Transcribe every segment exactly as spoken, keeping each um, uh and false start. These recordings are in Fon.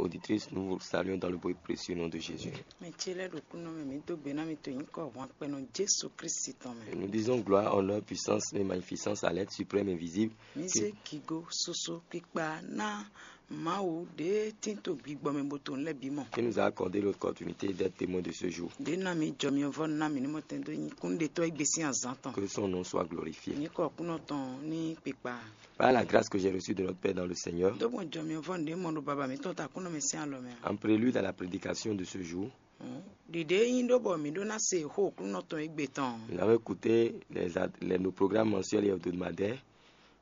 Auditrices, nous vous saluons dans le beau et précieux nom de Jésus. Mɛ ce lɛ́ɛ ɖo kúnɔ mɛ mǐ dó gbe ná mi to nyǐkɔ hwan kpɛnɔ Jesu Kristi tɔn mɛ. Et nous disons gloire, honneur, puissance et magnificence à l'être suprême et visible Mǐ zé gigo, susu, kpikpa ná Mawu ɖě tín to gbigbɔ mɛ bó to nǔ lɛ́ɛ bǐ mɔ. Qui nous a accordé l'opportunité d'être témoins de ce jour. Ɖě ná mi jɔ mi vɔ ná mi ní mɔ tɛn dó nyí kúnnuɖetɔ́ e gbé sín azǎn tɔn. Que son nom soit glorifié. Nyǐkɔ kúnɔ tɔn ní kpikpa. Par la grâce que j'ai reçue de notre Père dans le Seigneur, Dó gbɔn jɔ mi vɔ ɖě mɔ ɖo baba mǐtɔn ta kúnɔ mɛ sín alɔ mɛ. En prélude à la prédication de ce jour, Ɖiɖě nyí ɖó bɔ mǐ ɖó ná se xó kúnɔ tɔn égbé tɔn. Nous avons écouté les, ad- les- nos programmes mensuels et hebdomadaires,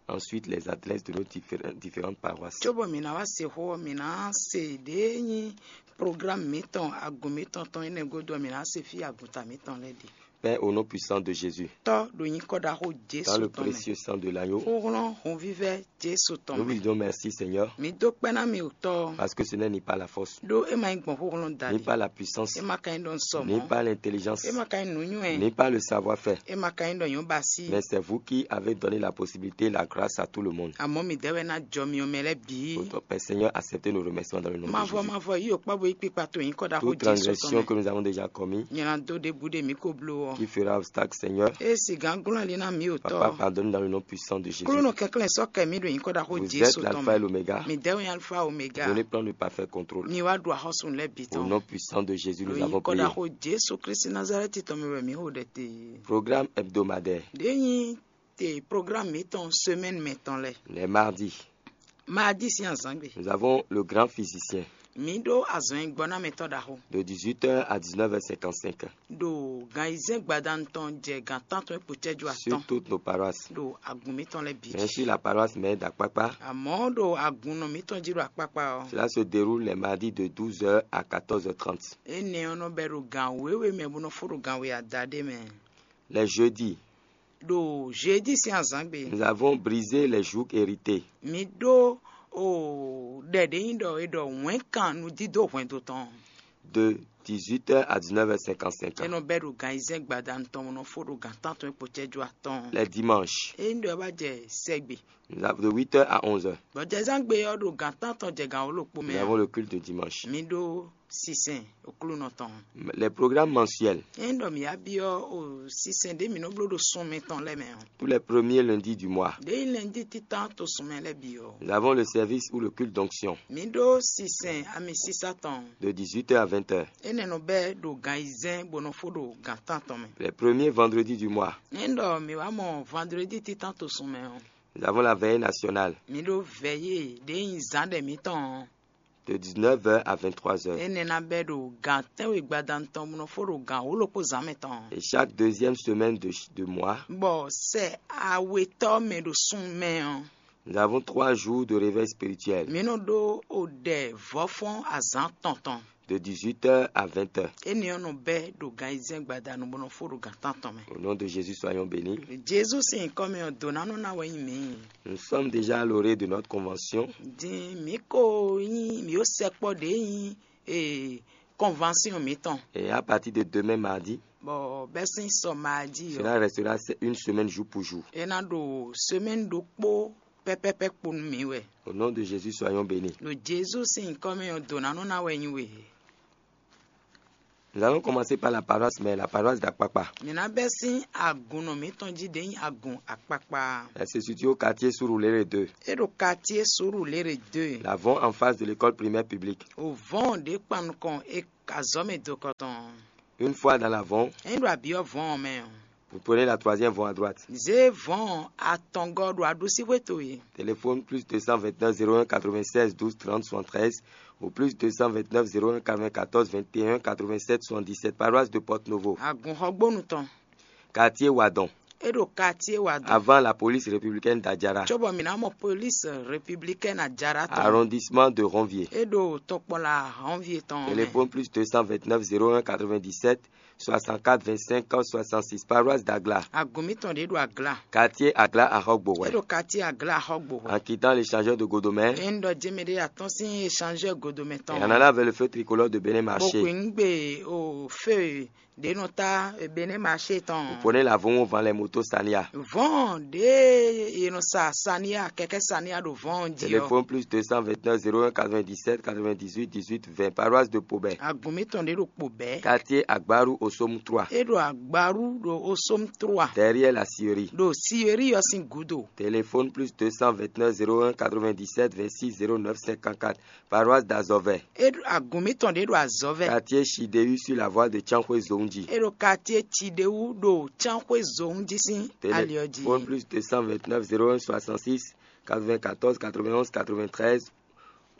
ensuite les adresses de nos différen- différentes paroisses. Cóbɔ mǐ ná wá se xó ɔ́, mǐ ná se ɖě nyí programme mǐtɔn agun mǐtɔn tɔn énɛ́ gúdo ɔ́, mǐ ná se fí agunta mǐtɔn lɛ́ɛ ɖe. Père, au nom puissant de Jésus, Tɔ́ ɖo nyǐkɔ ɖaxó Jesu dans le tɔn mɛ. Précieux sang de l'agneau, Xóxlɔ́n hunvívɛ́ Jesu tɔn nous vous mɛ. Disons merci, Seigneur, Mǐ dó kpɛ́ ná mi wǔtɔ́. Parce que ce n'est ni par la force, Ɖó é ma nyí gbɔn xóxlɔ́n ni daɖi. Par la puissance, É ma ka nyí ɖɔ un sɔ ni mɔ̌. Par l'intelligence, É ma ka nyí nǔnywɛ́. Ni par le savoir-faire, É ma ka nyí ɖɔ nyɔ̌ ba sí. Mais c'est vous qui avez donné la possibilité, la grâce à tout le monde. Àmọ́ mi dɛ́ wɛ ná jɔ mi ɔmɛ lɛ́ɛ bǐ. Votre Père Seigneur, acceptez nos remerciements dans le nom de Mavɔ Jésus. Mavɔ yí ò kpá bo yí kpikpa to nyǐkɔ ɖaxó Toute Jesu tɔn transgression mɛ. Que nous avons déjà commis, Nyɛ ná dó ɖěbǔ ɖe mǐ ko bló ɔ́. Qui fera obstacle, Seigneur, É sì gán glɔ́n ali ná mǐ ò Papa, tɔ́. Pardonne dans le nom puissant de Jésus. Klúnɔ kɛnklɛ́n sɔ́ kɛ mí ɖo nyǐkɔ ɖaxó Vous Jesu êtes tɔn l'alpha et mɛ. L'oméga. Mi dɛ́ wɛ alfa omega. Vous ne prenez le parfait contrôle. Mi wá ɖu axɔ́sún lɛ́ɛ bǐ Au tɔn. nom puissant de Jésus, Ɖo nous avons nyǐkɔ prié. Ɖaxó Jesu Kristi Nazarɛti tɔn mɛ wɛ mǐ xo ɖɛ te. Programme hebdomadaire. Ɖě nyí te programme mǐtɔn semaine mɛ tɔn lɛ. Les mardis, Mardi sín azǎngbe. Nous avons le grand physicien. Mǐ ɖó azɔn e gbɔ ná mɛtɔn ɖaxó. De dix-huit heures à dix-neuf heures cinquante-cinq. Ɖo gan ayizɛ́n gbadanu tɔn jɛ gan tántɔn e kpo cɛ́jú Sur atɔn. Toutes nos paroisses. Ɖo agun mǐtɔn lɛ́ɛ bǐ Mais jí. Sur la paroisse mère d'Akpakpa, Àmọ́ ɖo agunnɔ mǐtɔn jí ɖo akpákpá ɔ́. Cela se déroule les mardis de douze heures à quatorze heures trente. Énɛ́ ɔ́ nɔ bɛ ɖo gan wěwe mɛ bó nɔ fó ɖo gan we adaɖé mɛ. Les jeudis, Ɖo jeudi sín azǎngbe. Nous avons brisé les jougs hérités. Mǐ ɖó o ɖɛ ɖě nyí ɖɔ è ɖɔ wɛ̌nkan nǔdídó hwɛndo tɔn. De dix-huit heures à dix-neuf heures cinquante-cinq. É nɔ bɛ́ ɖo gan ayizɛ́n gbadanu tɔn bó nɔ fó ɖo gan tántɔn e kpo cɛ́jú atɔn. Les dimanches, É nyí ɖɔ é wá jɛ sɛgbe. Nous avons de huit heures à onze heures. Bɔ jɛzán gbe ɔ́ ɖo gan tántɔn jɛ gan wǒ ɖokpó Nous mɛ. Avons le culte de dimanche. Mǐ ɖó sinsɛn oklúnɔ tɔn. Les programmes mensuels, É nyí ɖɔ mǐ wá byɔ́ o sinsɛn ɖě mǐ nɔ bló ɖo sun mǐtɔn lɛ́ɛ mɛ ɔ́. Tous les premiers lundis du mois, Ɖě nyí lɛndí títán to sun mɛ lɛ́ɛ bǐ ɔ́. Nous avons le service ou le culte d'onction. Mǐ ɖó sinsɛn amisísá tɔn. De dix-huit heures à vingt heures. Énɛ́ nɔ bɛ́ ɖo gan ayizɛ́n bó nɔ fó ɖo gan tántɔn mɛ. Les premiers vendredis du mois, É nyí ɖɔ mǐ wá mɔ vandredi títán to sun mɛ ɔ́. Nous avons la veillée nationale. Mǐ ɖó vɛyé ɖě nyí zǎn ɖɛ mǐtɔn ɔ́. De dix-neuf heures à vingt-trois heures. Énɛ́ ná bɛ́ ɖo gan tɛ́nwe gbadanu tɔn bó nɔ fó ɖo gan wǒ ɖokpó zǎn mɛ tɔn. Et chaque deuxième semaine de, de mois, Bɔ sɛ awetɔ́ mɛ ɖo sun mɛ ɔ́. Nous avons trois jours de réveil spirituel. Mǐ nɔ ɖó o ɖɛ vɔ̌fɔ́n azǎn tɔn tɔn. De dix-huit heures à vingt heures. Énɛ́ ɔ́ nɔ bɛ́ ɖo gan ayizɛ́n gbadanu bó nɔ fó ɖo gan tántɔn mɛ. Au nom de Jésus, soyons bénis. Jezu sín nyǐkɔ mɛ ɔ́, dǒ ná nɔ ná wɛ nyí mǐ. Nous sommes déjà à l'orée de notre convention. Din mǐ ko nyí mǐ ó sɛkpɔ́ ɖě nyí ee convention mǐtɔn. Et à partir de demain mardi, Bɔ bɛ́ sín sɔ mardi ɔ́. Cela restera se- une semaine jour pour jour. É ná ɖo semaine ɖokpó pɛ́pɛ́pɛ́ kpo nú mǐ wɛ. Au nom de Jésus, soyons bénis. Ɖo Jezu sín nyǐkɔ mɛ ɔ́, dǒ ná nɔ ná wɛ nyí we. Nous allons commencer par la paroisse, mais la paroisse d'Akpakpa. Mǐ ná bɛ́ sín agun nɔ mǐtɔn jí ɖě nyí agun akpakpa. Elle se situe au quartier Surulere deux. É ɖo quartier Surulere deux. L'avant en face de l'école primaire publique. O vɔn ɖě kpan nukɔn é azɔ̌ mɛ do kɔtɔn. Une fois dans l'avant, É ɖo abyɔ́ vɔn mɛ ɔ́. Vous prenez la troisième voie à droite. Zé vɔn atɔngɔ́ ɖo aɖusíxwé towe. Téléphone plus deux cent vingt-neuf zéro un quatre-vingt-seize douze trente soixante-treize ou plus deux cent vingt-neuf zéro un quatre-vingt-quatorze vingt et un quatre-vingt-sept soixante-dix-sept, paroisse de Porto Novo. Agunxɔgbónu tɔn. Quartier Wadon. É ɖo quartier wa dɔn. Avant la police républicaine d'Adjara. Cóbɔ mǐ ná mɔ police républicaine Adjara tɔn. Arrondissement de Ronvier. É ɖo tɔkpɔla Ronvier tɔn mɛ. Téléphone plus deux cent vingt-neuf zéro un quatre-vingt-dix-sept soixante-quatre vingt-cinq soixante-six, paroisse d'Agla. Agǔn mítɔn ɖě ɖo Agla. Quartier Agla Ahɔgbo. É ɖo quartier Agla Ahɔgbo. En quittant l'échangeur de Godomɛ. É ń ɖɔ jémɛ ɖé atɔ́n sín échangeur Godomɛ tɔn. Et en allant vers le feu tricolore de Bénin Marché. Bó kwe ń gbe o feu ɖě nɔ tá Bénin Marché tɔn. Vous prenez la Von van les motos Sania. Vɔn ɖě è nɔ sa Sania, kɛkɛ Sania ɖo vɔn jí ɔ. Téléphone plus deux cent vingt-neuf zéro un quatre-vingt-dix-sept quatre-vingt-dix-huit dix-huit vingt, paroisse de Pobɛ. Agǔn mítɔn ɖě ɖo Pobɛ. Quartier Agbaru Osom trois. É ɖo Agbaru ɖo Osom trois. Derrière la scierie. Ɖo scierie ɔ́ sín gǔdo. Téléphone plus deux cent vingt-neuf zéro un quatre-vingt-dix-sept vingt-six zéro neuf cinquante-quatre, paroisse d'Azɔvɛ. É ɖo agǔn mítɔn ɖě ɖo Azɔvɛ. Quartier Chidéu sur la voie de Tiankhoué Zongji. É ɖo quartier Chidéu ɖo Tiankhoué Zongji sín ali ɔ́ jí. Téléphone plus deux cent vingt-neuf zéro un soixante-six quatre-vingt-quatorze quatre-vingt-onze quatre-vingt-treize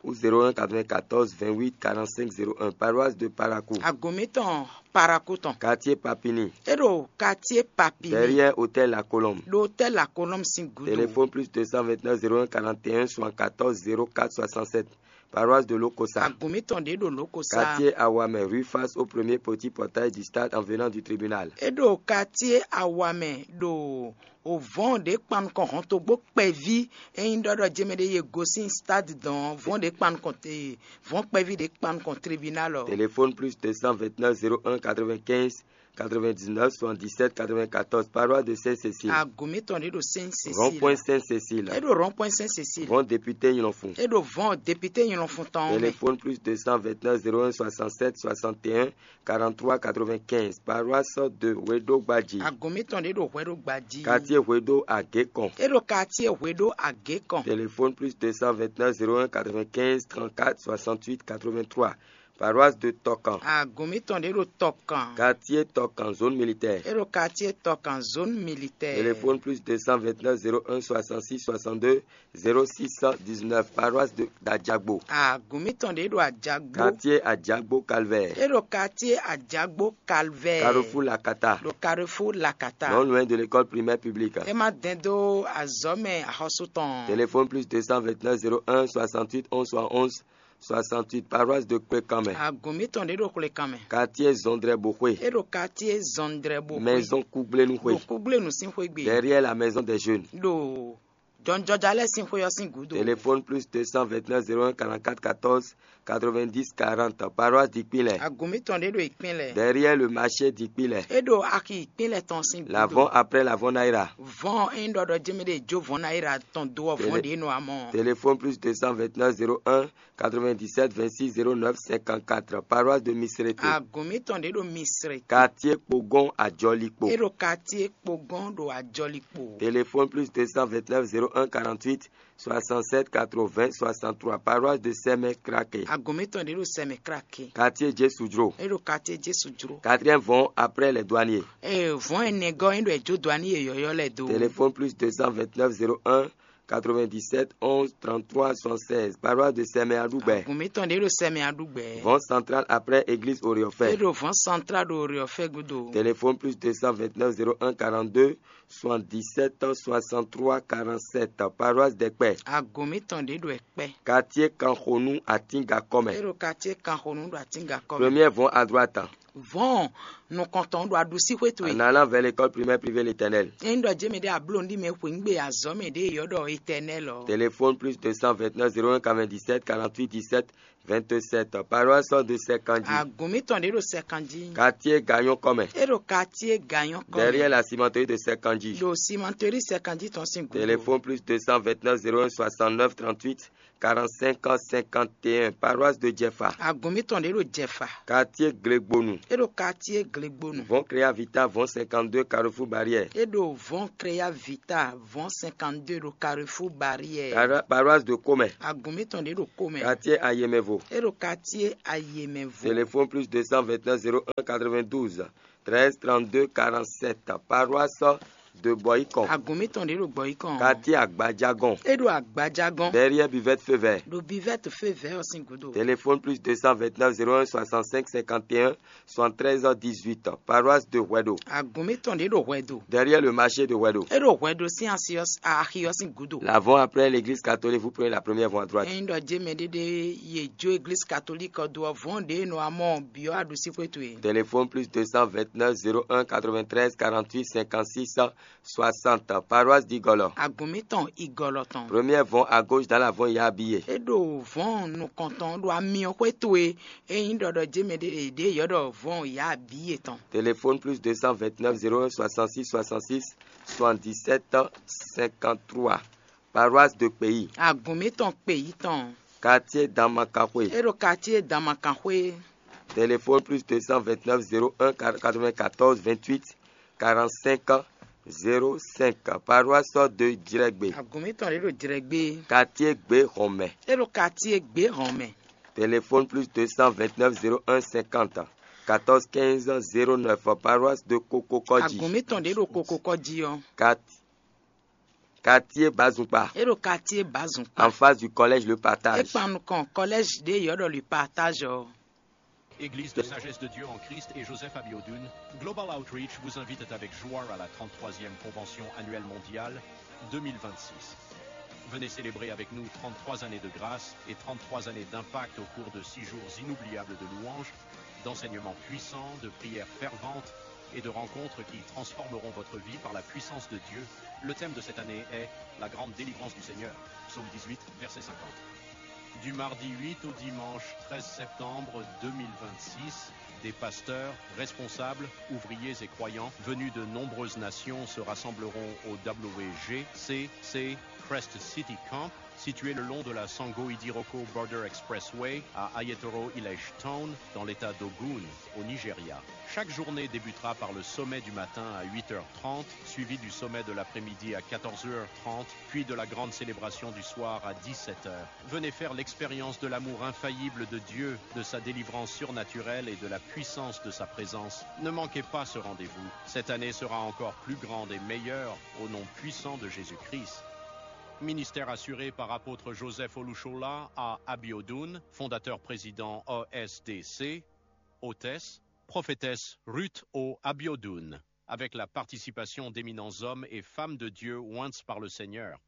ou zéro un quatre-vingt-quatorze vingt-huit quarante-cinq zéro un, paroisse de Parakou. Agǔn mítɔn Parakou tɔn. Quartier Papini. É ɖo quartier Papini. Derrière hôtel La Colombe. Ɖo hôtel La Colombe sín gúdo. Téléphone plus deux cent vingt-neuf zéro un quarante et un soixante-quatorze zéro quatre soixante-sept, paroisse de Lokosa. Agǔn mítɔn ɖě ɖo Lokosa. Quartier Awamɛ, rue face au premier petit portail du stade en venant du tribunal. É ɖo quartier Awamɛ ɖo o vɔn ɖě kpan nukɔn hɔntogbó kpɛví. É nyí ɖɔ ɖɔ jɛmɛ ɖé ye gosín stade dɔn vɔn ɖě kpan nukɔn te vɔn kpɛví ɖě kpan nukɔn tribunal ɔ. Téléphone plus deux cent vingt-neuf zéro un quatre-vingt-quinze quatre-vingt-dix-neuf soixante-dix-sept quatre-vingt-quatorze, paroisse de Sainte-Cécile. Agǔn mítɔn ɖě ɖo Sainte-Cécile. Rond-point Sainte-Cécile. É ɖo rond-point Sainte-Cécile. Vɔn député Nyilɔnfun. É ɖo vɔn député Nyilɔnfun tɔn mɛ. Téléphone plus deux cent vingt-neuf zéro un soixante-sept soixante et un quarante-trois quatre-vingt-quinze, paroisse de Hweɖo Gbadji. Agǔn mítɔn ɖě ɖo Hweɖo Gbadji. Quartier Hweɖo Agékɔn. É ɖo quartier Hweɖo Agékɔn. Téléphone plus deux cent vingt-neuf zéro un quatre-vingt-quinze trente-quatre soixante-huit quatre-vingt-trois, paroisse de Tɔkan. Agǔn mítɔn ɖě ɖo Tɔkan. Quartier Tɔkan, zone militaire. É ɖo quartier Tɔkan, zone militaire. Téléphone plus deux cent vingt-neuf zéro un soixante-six soixante-deux zéro six dix-neuf, paroisse de d'Adjagbo. Agǔn mítɔn ɖě ɖo Adjagbo. Quartier Adjagbo Calvaire. É ɖo quartier Adjagbo Calvaire. Carrefour Lakata. Ɖo Carrefour Lakata. Non loin de l'école primaire publique. É má dɛn dó azɔ̌ mɛ axɔ́sú tɔn. Téléphone plus deux cent vingt-neuf zéro un soixante-huit onze soixante-onze soixante-huit, paroisse de Kpekanmɛ. Agǔn mítɔn ɖě ɖo Kpekanmɛ. Quartier Zɔndrɛ Boxwe. É ɖo quartier Zɔndrɛ Boxwe. Maison Kugblenu Xwe. Ɖo Kugblenu sín xwé gbe. Derrière la maison des jeunes. Ɖo jɔnjɔja lɛ́ɛ sín xwé ɔ́ sín gǔdo. Téléphone plus deux cent vingt-neuf zéro un quarante-quatre quatorze quatre-vingt-dix quarante, paroisse d'Ikpinlɛ. Agǔn mítɔn ɖě ɖo Ikpinlɛ. Derrière le marché d'Ikpinlɛ. É ɖo axi Ikpinlɛ tɔn sín gǔdo. L'avant après l'avant Naira. Vɔn é nyí ɖɔ ɖɔ jɛmɛ ɖé jó vɔn Naira tɔn do ɔ́ vɔn Télé- ɖě nɔ amɔ. Téléphone plus deux cent vingt-neuf zéro un quatre-vingt-dix-sept vingt-six zéro neuf cinquante-quatre, paroisse de Misrete. Agǔn mítɔn ɖě ɖo Misrete. Quartier Kpogon Ajɔlikpo. É ɖo quartier Kpogon ɖo Ajɔlikpo. Téléphone plus deux cent vingt-neuf zéro un quarante-huit soixante-sept quatre-vingts soixante-trois, paroisse de Sɛmɛ Krake. Agǔn mítɔn ɖě ɖo Sɛmɛ Krake. Quartier Jesudro. É ɖo quartier Jesudro. Quatrième vɔn après les douaniers. Ee, vɔn ɛnɛ gɔ́ é ɖo ɛjó dɔani e yɔyɔ lɛ do. Téléphone plus deux cent vingt-neuf zéro un quatre-vingt-dix-sept onze trente-trois soixante-seize, paroisse de Sɛmɛ Aɖugbɛ. Agǔn mítɔn ɖě ɖo Sɛmɛ Aɖugbɛ. Vɔn central après église Oriɔfɛ. É ɖo vɔn central ɖo Oriɔfɛ gúdo. Téléphone plus deux cent vingt-neuf zéro un quarante-deux soixante-dix-sept soixante-trois quarante-sept, paroisse d'Ɛkpɛ. Agǔn mítɔn ɖě ɖo Ɛkpɛ. Quartier Kanxonu Atinga kɔmɛ. É ɖo quartier Kanxonu ɖo Atinga kɔmɛ. Premier vɔn à droite. Vɔn nukɔntɔn ɖo aɖusí xwé towe. En allant vers l'école primaire privée L'Éternel. É nyí ɖɔ jɛmɛ ɖé abló ní mɛ xwe ŋgbe azɔ̌ mɛ ɖě yɔ ɖɔ Éternel ɔ. Téléphone plus deux cent vingt-neuf zéro un quatre-vingt-dix-sept quarante-huit dix-sept vingt-sept, paroisse de Sɛkanji. Agǔn mítɔn ɖě ɖo Sɛkanji. Quartier Gagnon kɔmɛ. É ɖo quartier Gagnon kɔmɛ. Derrière la cimenterie de Sɛkanji. Ɖo cimenterie Sɛkanji tɔn sín gǔdo. Téléphone plus deux cent vingt-neuf zéro un soixante-neuf trente-huit quarante-cinq cinquante et un, paroisse de Jɛfa. Agǔn mítɔn ɖě ɖo Jɛfa. Quartier Glegbonu. É ɖo quartier Glegbonu. Vɔn Créa Vita, vɔn cinquante-deux, Carrefour Barrière. É ɖo vɔn Créa Vita, vɔn cinquante-deux ɖo Carrefour Barrière. Paroisse de Komɛ. Agǔn mítɔn ɖě ɖo Komɛ. Quartier Ayemɛvo. É ɖo quartier Ayemɛvo. Téléphone plus deux cent vingt-neuf zéro un quatre-vingt-douze treize trente-deux quarante-sept, paroisse De Boycon. Agǔn mitɔn ɖě ɖo Gbɔyikɔn. Quartier Agbajagɔn. É ɖo Agbajagɔn. Derrière Buvette Feu Vert. Ɖo Buvette Feu Vert ɔ́ sín gúdo. Téléphone plus deux cent vingt-neuf zéro un soixante-cinq cinquante et un soixante-treize dix-huit. Paroisse de Huedo. Agǔn mitɔn ɖě ɖo Hwɛdo. Derrière le marché de Huedo. É ɖo Hwɛdo sín axi ɔ́ sín gúdo. L'avant-après l'église catholique, vous prenez la première voie à droite. Ényí ɖɔ jé mɛɖé ɖé ye jó église catholique ɔ́ dó ɔ́, vɔ̌n ɖě nɔ amɔ byɔ́ aɖusíxwé towe. Téléphone plus deux cent vingt-neuf zéro un quatre-vingt-treize quarante-huit cinquante-six soixante, paroisse d'Igolo. Agǔn mitɔn Igolo tɔn. Première vɔn à gauche dans la vɔn Yabiye. É ɖo vɔ̌n nukɔntɔn ɖo amyɔxwé towe. Ényí ɖɔ ɖɔ jé mɛɖé ɖě yɔ́ ɖɔ vɔ̌n Yabiye tɔn. Téléphone plus deux cent vingt-neuf zéro un soixante-six soixante-six soixante-dix-sept cinquante-trois. Paroisse de Pays. Agǔn mitɔn kpe yí tɔn. Quartier Damakaxwe. É ɖo quartier Damakaxwe. Téléphone plus deux cent vingt-neuf zéro un quatre-vingt-quatorze vingt-huit quarante-cinq zéro cinq. Paroisse de Djrɛgbe. Agǔn mitɔn ɖě ɖo Djrɛgbe. Quartier Gbehɔnmɛ. É ɖo quartier Gbehɔnmɛ. Téléphone plus deux cent vingt-neuf zéro un cinquante quatorze quinze zéro neuf. Paroisse de Kokokɔji. Agǔn mitɔn ɖě ɖo Kokokɔji ɔ́. Quart-, quartier Bazukpa. É ɖo quartier Bazukpa. En face du collège Le Partage. É kpan nukɔn collège ɖě yɔ́ ɖɔ Le Partage ɔ́. Église de Sagesse de Dieu en Christ et Joseph Abiodun, Global Outreach vous invite avec joie à la trente-troisième convention annuelle mondiale deux mille vingt-six. Venez célébrer avec nous trente-trois années de grâce et trente-trois années d'impact au cours de six jours inoubliables de louanges, d'enseignements puissants, de prières ferventes et de rencontres qui transformeront votre vie par la puissance de Dieu. Le thème de cette année est la grande délivrance du Seigneur. Psaume dix-huit, verset cinquante. Du mardi huit au dimanche treize septembre deux mille vingt-six, des pasteurs, responsables, ouvriers et croyants venus de nombreuses nations se rassembleront au W G C C Crest City Camp, situé le long de la Sango Idiroko Border Expressway à Ayetoro Village Town, dans l'état d'Ogun, au Nigeria. Chaque journée débutera par le sommet du matin à huit heures trente, suivi du sommet de l'après-midi à quatorze heures trente, puis de la grande célébration du soir à dix-sept heures. Venez faire l'expérience de l'amour infaillible de Dieu, de sa délivrance surnaturelle et de la puissance de sa présence. Ne manquez pas ce rendez-vous. Cette année sera encore plus grande et meilleure au nom puissant de Jésus-Christ. Ministère assuré par apôtre Joseph Olushola à Abiodun, fondateur président O S D C, hôtesse, prophétesse Ruth O Abiodun, avec la participation d'éminents hommes et femmes de Dieu oints par le Seigneur.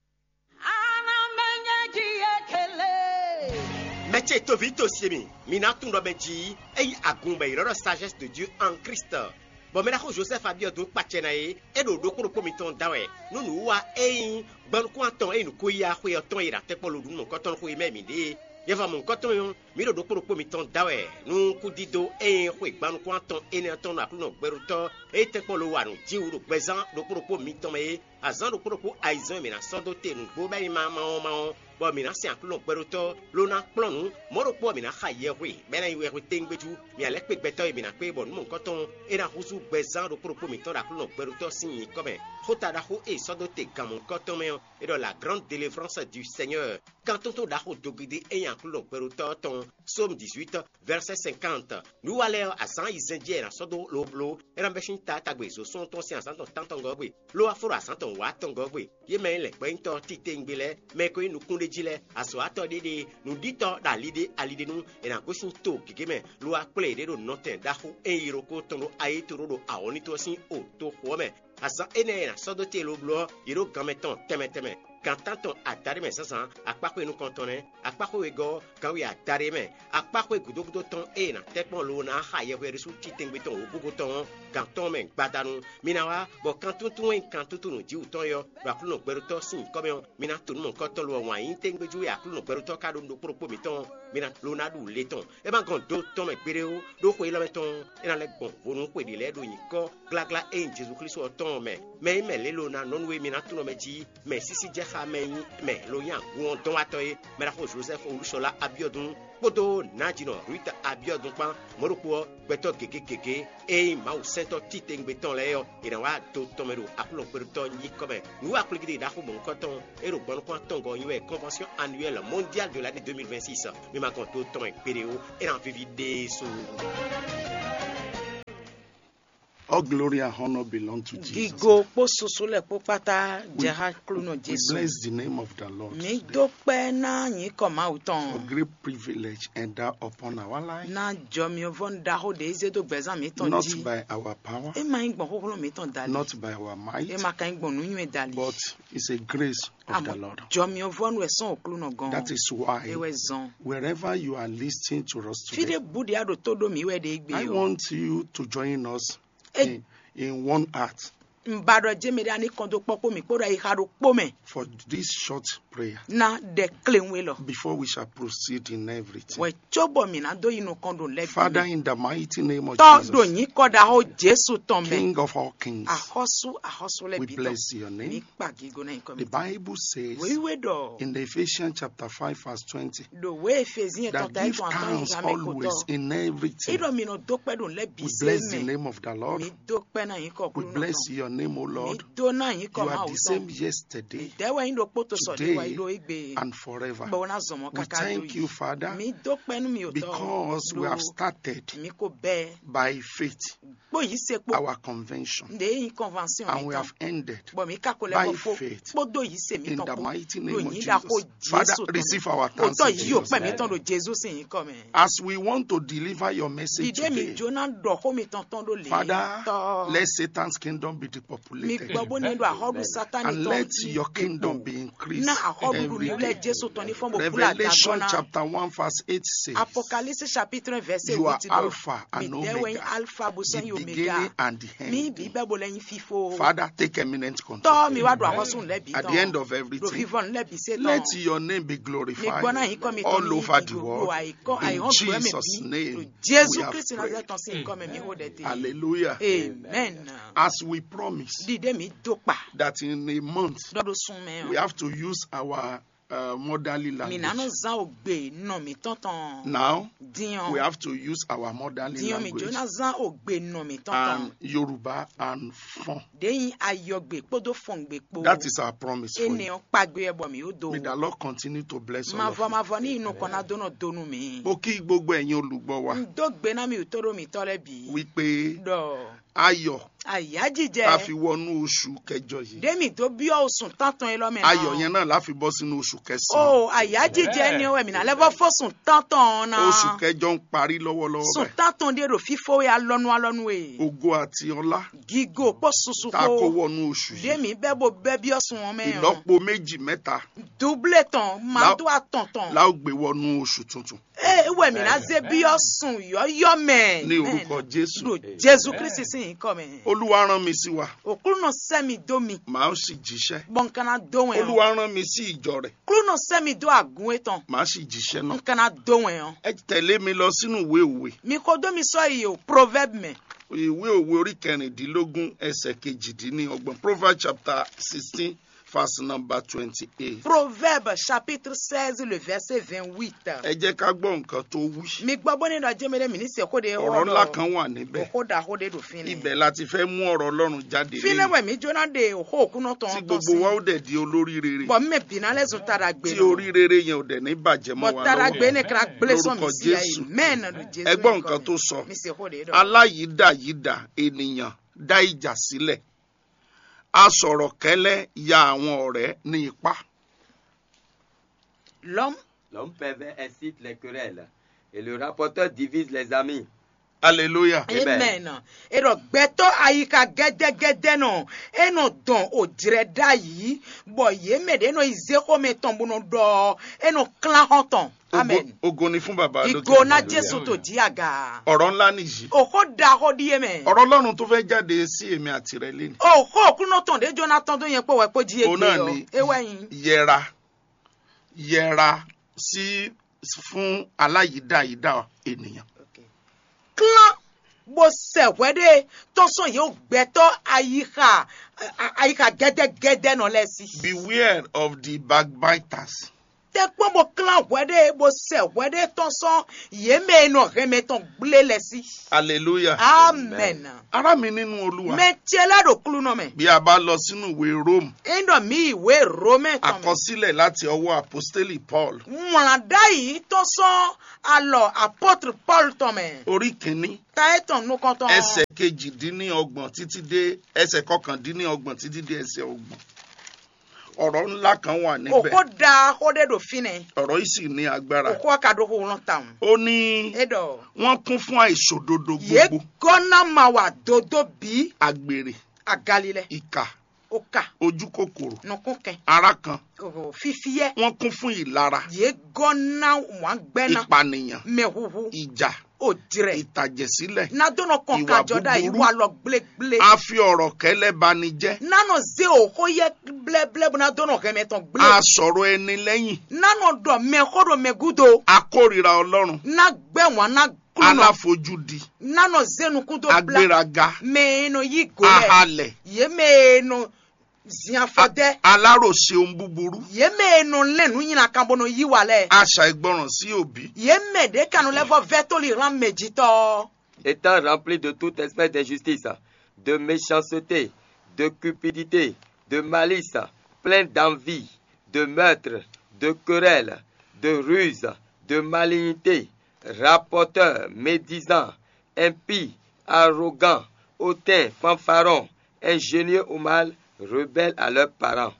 Mɛ ce toví to se mi, mi ná tunwun ɖɔ mɛ jí é nyí agun bɔ è ylɔ́ ɖɔ Sagesse de Dieu en Christ, bɔ mɛ ɖaxó Josɛ́fu Abiɔdu kpacɛ ná é, é ɖo ɖokpó ɖokpó mitɔn da wɛ nú nǔwiwa e nyí gbɔnukún atɔn e nyí nǔkó yíyá xwe ɔ́ tɔn e ɖo atɛ́kpɔ́ lodǔnnukɔntɔn xwe mɛ mǐ ɖe é. Nyɛ vɔ mɔ̌hunkɔtɔn ɔ́, mǐ ɖo ɖokpó ɖokpó mitɔn da wɛ nú kúdídó e nyí xwe gbɔnukún atɔn énɛ́ ɔ́ tɔn ɖo Aklúnɔ gbɛɖótɔ́ e tɛ́nkpɔ́n lo wa nǔ jí wú ɖo gbɛzán ɖokpó ɖokpó mitɔn mɛ é. Azǎn ɖokpó ɖokpó ayizɛ́n e mǐ ná sɔ́ dó te nǔgbó bɔ é nyí ma ma ɔ́ ma ɔ́, bɔ mǐ ná sin Aklúnɔ gbɛɖótɔ́, ló ná kplɔ́n nǔ. Mɔ̌ ɖokpó ɔ́, mǐ ná xa yɛhwe, bɔ é ná nyí wɛhwe téŋgbéjú. Mǐ ná lɛ́ kpé gbɛtɔ́ e mǐ ná kpé bɔ nǔ mɔ̌hunkɔtɔn ɔ́, é ná húzú gbɛzán ɖokpó ɖokpó mǐtɔn ɖo Aklúnɔ gbɛɖótɔ́ sín nyǐkɔ mɛ. Xóta ɖaxó e è sɔ́ dó te gan mɔ̌hunkɔtɔn mɛ ɔ́, é ɖɔ la grande délivrance du Seigneur. Kan tótó ɖaxó dogidi e nyí Aklúnɔ gbɛɖótɔ́ ɔ́ tɔn. Psaume dix-huit, verset cinquante. Nǔ wa lɛ́ɛ ɔ́, azǎn ayizɛ́n jí wɛ è nǎ sɔ́ dó lobló, é ná bɛ́ sín taátagbe zo sɔ́ tɔn sín azǎn tɔn tántɔngɔ́ gbe, ló wá fó ɖo azǎn tɔn wǎtɔngɔ́ gbe. Yě mɛ e nyí lɛ̌ngbɔ́nyitɔ́ titewungbe lɛ́ɛ, mɛ e ko nyí nukúnɖéjí lɛ́ɛ, azɔ̌watɔ́ ɖéɖée, nǔɖitɔ́ ɖo ali ɖé ali ɖé nú è nǎ gosín to gěgé mɛ, lo wá kplé yěɖée ɖo nɔtɛn ɖaxó e nyí yilókó tɔn ɖó ayǐ tlóló ɖo awɔ̌nlin tɔn sín o toxo ɔ́ mɛ. Azǎn énɛ́ e è nǎ sɔ́ dó te lobló ɔ́, yě ɖo gan mɛ tɔn tɛnmɛ tɛnmɛ. Gan tántɔn adaɖé mɛ zǎnzǎn, akpáxwé nukɔntɔn nɛ́, akpáxwé wegɔ́ ɔ́, ganwé adaɖé mɛ, akpáxwé gǔdo gúdo tɔn e è nǎ tɛ́ kpɔ́n lo ná xa yɛhweɖésú titɛngbé tɔn wǒgógó tɔn ɔ́, gan tɔn mɛ gbadanu. Mi ná wá, bɔ kan túntún e kan túntún nǔjíwǔ tɔn é ɔ́, ɖo Aklúnɔ gbɛɖótɔ́ sín nyǐkɔ mɛ ɔ́, mi ná to nǔ mɔ̌hunkɔtɔn lo ɔ́ wǎn yí tégbéjú e Aklúnɔ gbɛɖótɔ́ ka ɖó nú ɖokpó ɖokpó mǐtɔn ɔ́, mi ná lo ná ɖu le tɔn. É ma gɔn do tɔn mɛ gbeɖé ó, ɖó xwe élɔ́ mɛ tɔn ɔ́, é ná lɛ́ gbɔn vo nú xwe ɖě lɛ́ɛ ɖo nyǐkɔ gláglá e nyí Jezu Klísu ɔ́ tɔn ɔ́ mɛ. Mɛ e mɛ lě lo ná nɔ nú we mi ná tunwun mɛ jí, mɛ sísí jɛ xá mɛ e nyí mɛ lo nyí agun ɔ́ dɔn wá tɔn é, mɛ ɖaxó Jozɛ́fu Olúṣɔlá Abiɔdun kpódó nǎjínɔ Ruth Abiɔdun kpán. Mɔ̌ ɖokpó ɔ́, gbɛtɔ́ gěgé gěgé e nyí Mawu sɛntɔ́ titewungbe tɔn lɛ́ɛ ɔ́, è nǎ wá do tɔn mɛ ɖo Aklúnɔ gbɛɖótɔ́ nyíkɔ mɛ. Nǔ wa kplígídi ɖaxó mɔ̌hunkɔtɔn e ɖo gbɔnukún atɔngɔ́ ɔ́ nyi wɛ Convention Annuelle Mondiale de l'année deux mille vingt-six. Mi ma gɔn do tɔn mɛ gbeɖé ó, é ná víví ɖésú. All glory and honor belong to Jesus. Gigo kpó susu lɛ kpó kpátá jɛ xá Klúnɔ We Jesu. Bless the name of the Lord Mi today dó kpɛ́ ná nyǐkɔ Mawu for tɔn. Great privilege and that upon our life. Ná jɔ myɔvɔ́nu ɖaxó ɖě zé dó gbɛzán mǐtɔn Not jí. By our power, É ma nyí gbɔn xóxlɔ́ mǐtɔn dali. Not by our might, É ma ka nyí gbɔn nǔnywɛ́ dali. But it's a grace of the Lord. Jɔ myɔvɔ́nu wɛ sɔ́n Klúnɔ gɔ́n. That is why É wɛ zɔn. Wherever you are listening to us Fí today, ɖé bǔ ɖě a ɖo tó ɖó mǐ wɛ ɖě gbé I o. Want you to join us Ɛ- in, in one heart Un ba ɖɔ jɛ́n mɛ ɖé a ní kɔn dó kpɔ́ kpó mǐ kpódó ayixa ɖokpó mɛ. For this short prayer. Ná ɖɛ kléwún élɔ́. Before we shall proceed in everything. Wɛ cóbɔ mǐ ná dó yi nukɔn ɖo lɛ́ Father, in the mighty name of Tɔ́ Jesus, ɖo nyǐkɔ ɖaxó Jesu tɔn mɛ. King of all kings, Axɔ́sú axɔ́sú lɛ́ɛ we bǐ tɔn. Bless your name. Mǐ kpa gígo ná nyǐkɔ The mɛ. Bible says Wěwé ɖɔ in Ephesians chapter five verse twenty, ɖo wě Efezín that tɔn ta give tɔn atɔn thanks yi ha mɛ always kotɔ. In everything. É ɖɔ mi nɔ dó kpɛ́ ɖo lɛ́ bǐ We se bless the mɛ. Name of the Lord. Mǐ dó kpɛ́ ná nyǐkɔ We Aklúnɔ bless tɔn. Your name, O Lord. Mǐ dó ná nyǐkɔ You are Mawu the same tɔn. Yesterday, Mǐ dɛ́ wɛ nyí ɖokpó to sɔ́ ɖé wá yi today, ɖó égbé. And forever. Bɔ ná zɔmɔ We káká thank dó you, yi. Father, Mǐ dó kpɛ́ nú mi o tɔn. Because we have started Mǐ ko bɛ́ by faith kpó yí se kpó. Our convention. Ndé yí convention And we have ended bɔ mí ka ko lɛ́ by kɔ fó faith kpódó yí se in mítɔn the kpó mighty name of Jesus. Father, receive our thanks in Jesus' name. Òtọ́ yí òpẹ́ mítɔn ɖo Jésù sín nyǐkɔ mɛ. As we want to deliver your message today, dìde mi jóná ɖɔ xó mi tɔn tɔn ɖó lě. Father, let Satan's kingdom be depopulated. Mi gbɔ bó ní ɖo àhɔɖu Sátánì tɔn. And let your kingdom be increased. Ná àhɔɖu ní lɛ Jésù tɔn ní fɔn bó kúlà Revelation chapter one verse eight says, Apocalypse chapitre un verset huit. You are Alpha and Omega. Mi dɛwɛ Alpha bó sɔn yi Omega. The beginning and the end. Mi bí bɛ bó lɛ nyi fifo. Father, take eminent control. Tɔ mi wá do ahɔsùn lɛ bi tɔn. At the end of everything, do vivɔn lɛ bi se tɔn. Let your name be glorified all over the world. Mi gbɔ na yin kɔ mi tɔn mi yi gbogbo ayi kɔ ayi hɔn gbɔ mi bi. In Jesus' name, we have prayed. Jésù Kristi Nazareth tɔn sin kɔ mɛ mi ho dɛ te. Hallelujah. Amen. As we promise, dide mi do pa. That in a month, dɔ do sun mɛ. We have to use our uh, motherly language. Mi ná nɔ zán ògbè nɔ mǐtɔn tɔn. Now, Diɔn. We have to use our motherly language. Diɔn mi jó ná zán ògbè nɔ mǐtɔn tɔn. And Yoruba and Fon. Ɖé yin ayɔgbe kpódó fɔngbe kpó. That is our promise for you. Énɛ́ ɔ́ kpagbe ɛ bɔ mǐ ó do. May the Lord continue to bless all of you. Mavɔ mavɔ ní inú kɔn ná dó nɔ donu mǐ. Mo kí gbogbo ẹ̀yin olùgbọ́ wa. N dó gbe ná mi ò tó ɖó mǐtɔn lɛ́ bǐ. Wípé Ɖɔ ayọ̀ ayájíjẹ. Tá a fi wọnú oṣù kẹjọ yìí. Ɖé mi dó byɔ́ oṣù tántɔn élɔ́ mɛ ná. Ayọ̀ yẹn náà la fi bọ́ sínú oṣù kẹsàn-án. O ayájíjẹ ni wɛ mi ná lɛ́ vɔ fó sùn tántɔn ɔ́ ná. Oṣù kẹjọ ń parí lọ́wọ́lọ́wọ́ báyìí. Sùn tántɔn ɖé ɖo fífó wɛ alɔnu alɔnu e. Ògo àti ọlá. Gígo kpó susu kpó. Tá a kó wọnú oṣù yìí. Ɖé mi bẹ́ bo bẹ́ byɔ́ sun ɔ́ mɛ ɔ́. Ìlọ́po méjì mẹ́ta. Dúblé tɔn, máa tó àtọ̀n tɔn. La ó gbé wọnú oṣù tuntun. Ee wɛ mi ná zé byɔ́ sun yɔ́yɔ́ mɛ. Ní orúkọ Jésù. Ɖo Jésù Kristi sín nyǐkɔ mɛ. Olúwa rán mi sí wa. Òkúlùnà sẹ́ mi dó mi. Màá sì jíṣẹ́. Bɔ n kana dó wɛn ɔ́. Olúwa rán mi sí ìjọ rẹ̀. Kúlùnà sẹ́ mi dó àgún etɔn. Màá sì jíṣẹ́ náà. N kana dó wɛn ɔ́. Ẹ tẹ̀lé mi lọ sínú ìwé òwe. Mi ko dó mi sɔ́ yi o proverbe mɛ. Ìwé òwe orí kẹrìndínlógún ẹsẹ̀ kejìdínlọ́gbọ̀n. Proverbs chapter sixteen verse number twenty-eight. Proverbe chapitre seize le verset vingt-huit. Ẹ jẹ́ ká gbọ́ nǹkan tó wí. Mi gbọ́ bó ní ɖɔ jẹ́mi ɖé mi ní se xó ɖé. Ọ̀rọ̀ ńlá kan wà níbẹ̀. Xó ɖaxó ɖé ɖo fínɛ́. Ibẹ̀ la ti fẹ́ mú ọ̀rọ̀ Ọlọ́run jáde. Fínɛ́ wɛ mi jóná ɖe òxó òkúnɔ tɔn. Tí gbogbo wa ó dẹ̀ di olórí rere. Bɔ mɛ bìnà lɛ zun tara gbé. Tí orí rere yẹn ò dẹ̀ ní bàjẹ́ mọ́ wa lọ́wọ́. Bɔ tara gbé ne kra gblé sɔn mi sí ayi mɛn. Ẹ gbọ́ nǹkan tó sọ. Mi se xó ɖé ɖɔ. Aláyídayída ènìyàn dá ìjà sílẹ̀. A sọ̀rọ̀ kẹ́lẹ́ ya àwọn ọ̀rẹ́ ní ipá. L'homme. L'homme pervers incite les querelles et le rapporteur divise les amis. Hallelujah. Amen. Amen. Èrò gbɛtɔ ayika gɛdɛgɛdɛ nɔ enɔ dɔn òjrɛ ɖ'ayǐ bɔ yě mɛ ɖě nɔ yi zé xomɛ tɔn bó nɔ ɖɔ enɔ klán xɔn tɔn. Amen. Ògo ni fún bàbá lókè. Ìgò ná Jésù tó jí àga. Ọ̀rọ̀ ńlá nìyí. Òxó ɖaxó ɖíe mɛ. Ọ̀rọ̀ Ọlọ́run tó fẹ́ jáde sí èmi àti rẹ lénìí. Òxó òkúnú tɔn ɖé jóná tán tó yẹn pé wẹ́ kó jí ègbé o. Òun náà ni ewé yín. Yẹra yẹra sí fún aláyídáyídá ènìyàn. Klán bó sɛ hwɛ ɖé tɔn sɔn yě gbɛtɔ ayixa ayixa gɛdɛgɛdɛ nɔ lɛ si. Beware of the backbiters. tɛ́nkpɔ́n bó klán hwɛɖée bó sɛ hwɛɖée tɔn sɔ́ yě mɛ e nɔ hɛn mɛ tɔn gblé lɛ́ɛ sí. Aleluya. Amɛn. Ará mi nínú Olúwa. Mɛ ce lɛ́ɛ ɖo klúnɔ mɛ. Bí a bá lọ sínú ìwé Rome, Ényí ɖɔ mǐ yi wě Romɛ tɔn mɛ. Àkọsílẹ̀ láti ọwọ́ àpọ́stélì Paul. Wlǎn ɖ'ayǐ tɔn sɔ́ alɔ apɔ́tr Pɔ́lu tɔn mɛ. Orí kìíní, Ta étɔn nukɔntɔn. Ẹsẹ̀ kejìdínlọ́gbọ̀n títí dé ẹsẹ̀ kọkàndínlọ́gbọ̀n títí dé ẹsẹ̀ ọgbọ̀n. Ọ̀rọ̀ ńlá kan wà níbẹ̀. Òkó da xó ɖé ɖo fínɛ́. Ọ̀rọ̀ yìí sì ní agbára. Òkó ɔ́ ka ɖó xó wlɔ́n tawun. Ó ní É ɖɔ wọ́n kún fún àìṣòdodo yě gbogbo, gɔ́ ná ma wa dodó bǐ àgbèrè, agalilɛ, ìkà, oka, ojú kòkòrò, nukúnkɛn, ará kan, o, fifiyɛ. Wọ́n kún fún ìlara, Yě gɔ́ ná wǎngbɛ́ ná ìpànìyàn, mɛhuhu, ìjà, òjrɛ, ìtàjẹ̀sílẹ̀, ná dó nɔ kɔn ìwà kajɔ ɖ'ayǐ búburú, wá lɔ gblégblé. A fi ọ̀rọ̀ kɛlɛ ba ni jẹ́. Ná nɔ zé òxó yɛ blɛ́blɛ́ bó ná dó nɔ hɛn mɛ tɔn gblé. A sọ̀rọ̀ ẹni lẹ́yìn. Ná nɔ ɖɔ mɛxó ɖo mɛ gúdo. A kórìíra Ọlọ́run. Ná gbɛ́ wǎn ná klúnɔ. Aláfojúdi. Ná nɔ zé nukún dó blá. Agbéraga. Mɛ e nɔ yí gǒ lɛ. Ahalɛ. Yě mɛ e nɔ zin afɔ dɛ́. Aláròṣe ohun búburú. Yě mɛ e nɔ lɛ́n nǔ nyi nǎkan bó nɔ yí wa lɛ́ɛ. Aṣàìgbọràn sí òbí. Yě mɛ ɖě ka nɔ lɛ́ vɔ vɛ́ tóli hlán mɛ jitɔ́. Étant rempli de toute espèce d'injustice, de méchanceté, de cupidité, de malice, plein d'envie, de meurtre, de querelle, de ruse, de malignité, rapporteur, médisant, impie, arrogant, hautain, fanfaron, ingénieux au mal, rebelle à leurs parents.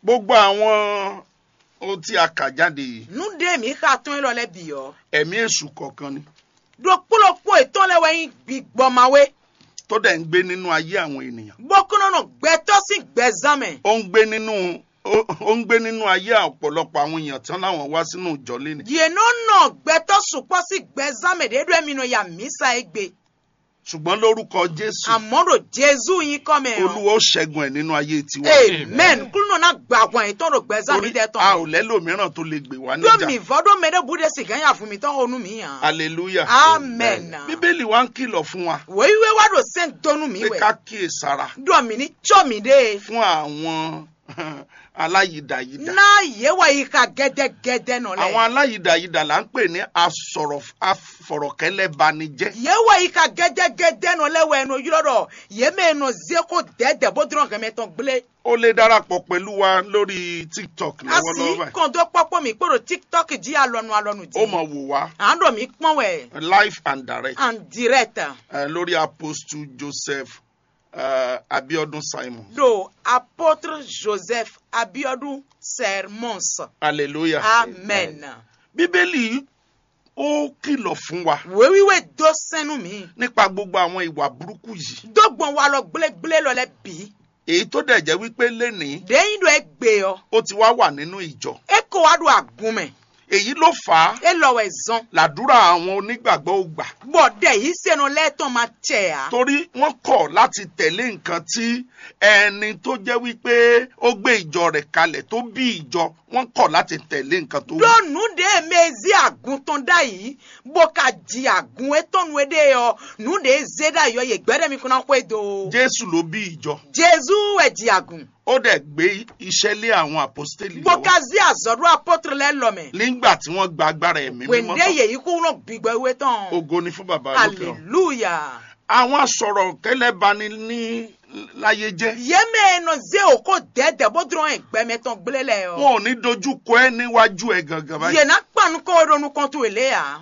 Gbogbo àwọn ohun tí a kà jáde yìí, Nǔ ɖé mǐ xa tɔn élɔ́ lɛ́ɛ bǐ ɔ́, ẹ̀mí èṣù kọ̀ọ̀kan ni, ɖokpó ɖokpó yětɔn lɛ́ɛ wɛ nyí gbigbɔmawé, tó dẹ̀ ń gbé nínú ayé àwọn ènìyàn. Bó kún nɔ nɔ gbɛtɔ́ sín gbɛzán mɛ. Ó ń gbé nínú ó ó ń gbé nínú ayé ọ̀pọ̀lọpọ̀ àwọn èèyàn tán láwọn wá sínú ìjọ lénìí. Yě nɔ nɔ gbɛtɔ́ sukpɔ́ sín gbɛzán mɛ ɖě ɖɔ émí nɔ ya mǐsa égbé. Ṣùgbọ́n lórúkọ Jésù, Àmọ́ ɖo Jezu nyíkɔ mɛ ɔ́, Olúwa ó ṣẹ́gun ẹ̀ nínú ayé tiwa. Amen. Kúlúnɔ ná gba ahwan yětɔn ɖo gbɛzán Torí mi dɛ tɔn. A ò lɛ́lòmíràn tó lè gbè wá Ɖó níjà. Mǐ vɔ́ ɖó mɛɖé bú ɖé si gǎn ya vun mǐtɔn xo nú mǐ ǎ. Hallelujah. Amen. Bíbélì wa ń kìlọ̀ fún wa Wěwé wá ɖo sɛ́n dó nú mǐ pé wɛ. Ká kíyèsára Ɖɔ mǐ ní có mǐɖée. Fún àwọn aláyidayida. Ná yě wɛ yi xa gɛdɛgɛdɛ nɔ lɛ́ɛ. Àwọn aláyidayida là ń pè ní asọ̀rọ̀ afọ̀rọ̀kẹ́lẹ́banijẹ́. Yě wɛ yi xa gɛdɛgɛdɛ nɔ lɛ́ɛ wɛ nɔ ylɔ́ ɖɔ yě mɛ e nɔ zé xó dɛ̌dɛ̌ bó dlɔ́n hɛn mɛ tɔn gblé. O lè darapọ̀ pẹ̀lú wa lórí TikTok A sì lọ́wọ́lọ́wọ́ báyìí. Kɔn dó kpɔ́kpɔ́ mǐ kpó ɖo TikTok jí alɔnu alɔnu jí. Ó mọ̀ wò wá À ń ɖo mǐ kpɔ́n wɛ. Live and direct. En direct. Eh, lórí Apostle Joseph, eh, Abiodun Simon. Ɖo apôtre Joseph Abiodun Sermons. Hallelujah. Amen. Bíbélì ó kìlọ̀ fún wa Wěwíwé dó sɛ́n nú mǐ. Nípa gbogbo àwọn ìwà burúkú yìí. Dó gbɔn walɔ gblégblé lɔ lɛ́ɛ bǐ. Èyí tó dẹ̀ jẹ́ wípé lénìí Ɖě nyí ɖɔ é gbe ɔ́, ó ti wá wà nínú ìjọ. É ko wá ɖo agun mɛ. Èyí ló fà á É lɔ wɛ zɔn. Làdúrà àwọn onígbàgbọ́ ò gbà. Bɔ ɖɛ yí sɛnɔ lɛ́ɛ tɔn ma cɛ ǎ. Torí wọ́n kọ̀ láti tẹ̀lé nǹkan tí ẹni tó jẹ́ wípé ó gbé ìjọ rẹ̀ kalẹ̀ tó bí ìjọ, wọ́n kọ̀ láti tẹ̀lé nǹkan tó wí. Ɖó nǔ ɖě e mɛ e zé agun tɔn ɖ'ayǐ, bó ka ji agun étɔn nú éɖée ɔ́, nǔ ɖě e zé ɖ'ayǐ ɔ́, yě gbɛ́ ɖɔ mi kún ná xwedó. Jésù ló bí ìjọ. Jezu wɛ ji agun. Ó dẹ̀ gbé iṣẹ́ lé àwọn àpọ́stélì Bó lọ́wọ́. Ka zé azɔ̌ ɖó apɔ́tr lɛ́ɛ lɔ mɛ. Nígbà tí wọ́n gba agbára ẹ̀mí mímọ́ Wěnde tán. Yě yí kúnlɔ́ gbigbɔ wíwé tɔn. Ògo ni fún Bàbá lókè ọ̀run. Aleluya. Àwọn asọ̀rọ̀ kẹlẹ́ bani ní láyé jẹ́. Yě mɛ e nɔ zé òkó dɛ̌dɛ̌ bó dlɔ́n ɛ gbɛmɛ tɔn gblé lɛ ɔ́. Wọn ò ní dojú kọ ẹ́ níwájú ẹ gangan báyìí. Yě ná kpan nukɔn we ɖo nukɔn towe lě ǎ.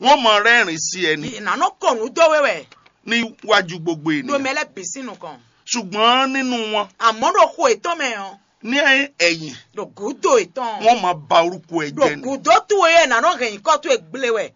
Wọ́n mọ rẹ́rìn sí ẹ ní. Yě ná nɔ kɔ nǔ dó we wɛ. Níwájú gbogbo Ɖo ènìyàn. Mɛ lɛ́ɛ bǐ sín nukɔn. Ṣùgbọ́n nínú wọn. Àmọ́ ɖo xo yětɔn mɛ ɔ́. Ní ẹ̀yìn. Ɖo gǔdo yětɔn. Wọ́n máa ba orúkọ ẹ Ɖo jẹ́ ni. Gǔdo towe ɛ ná nɔ hɛn nyǐkɔ towe gblé wɛ.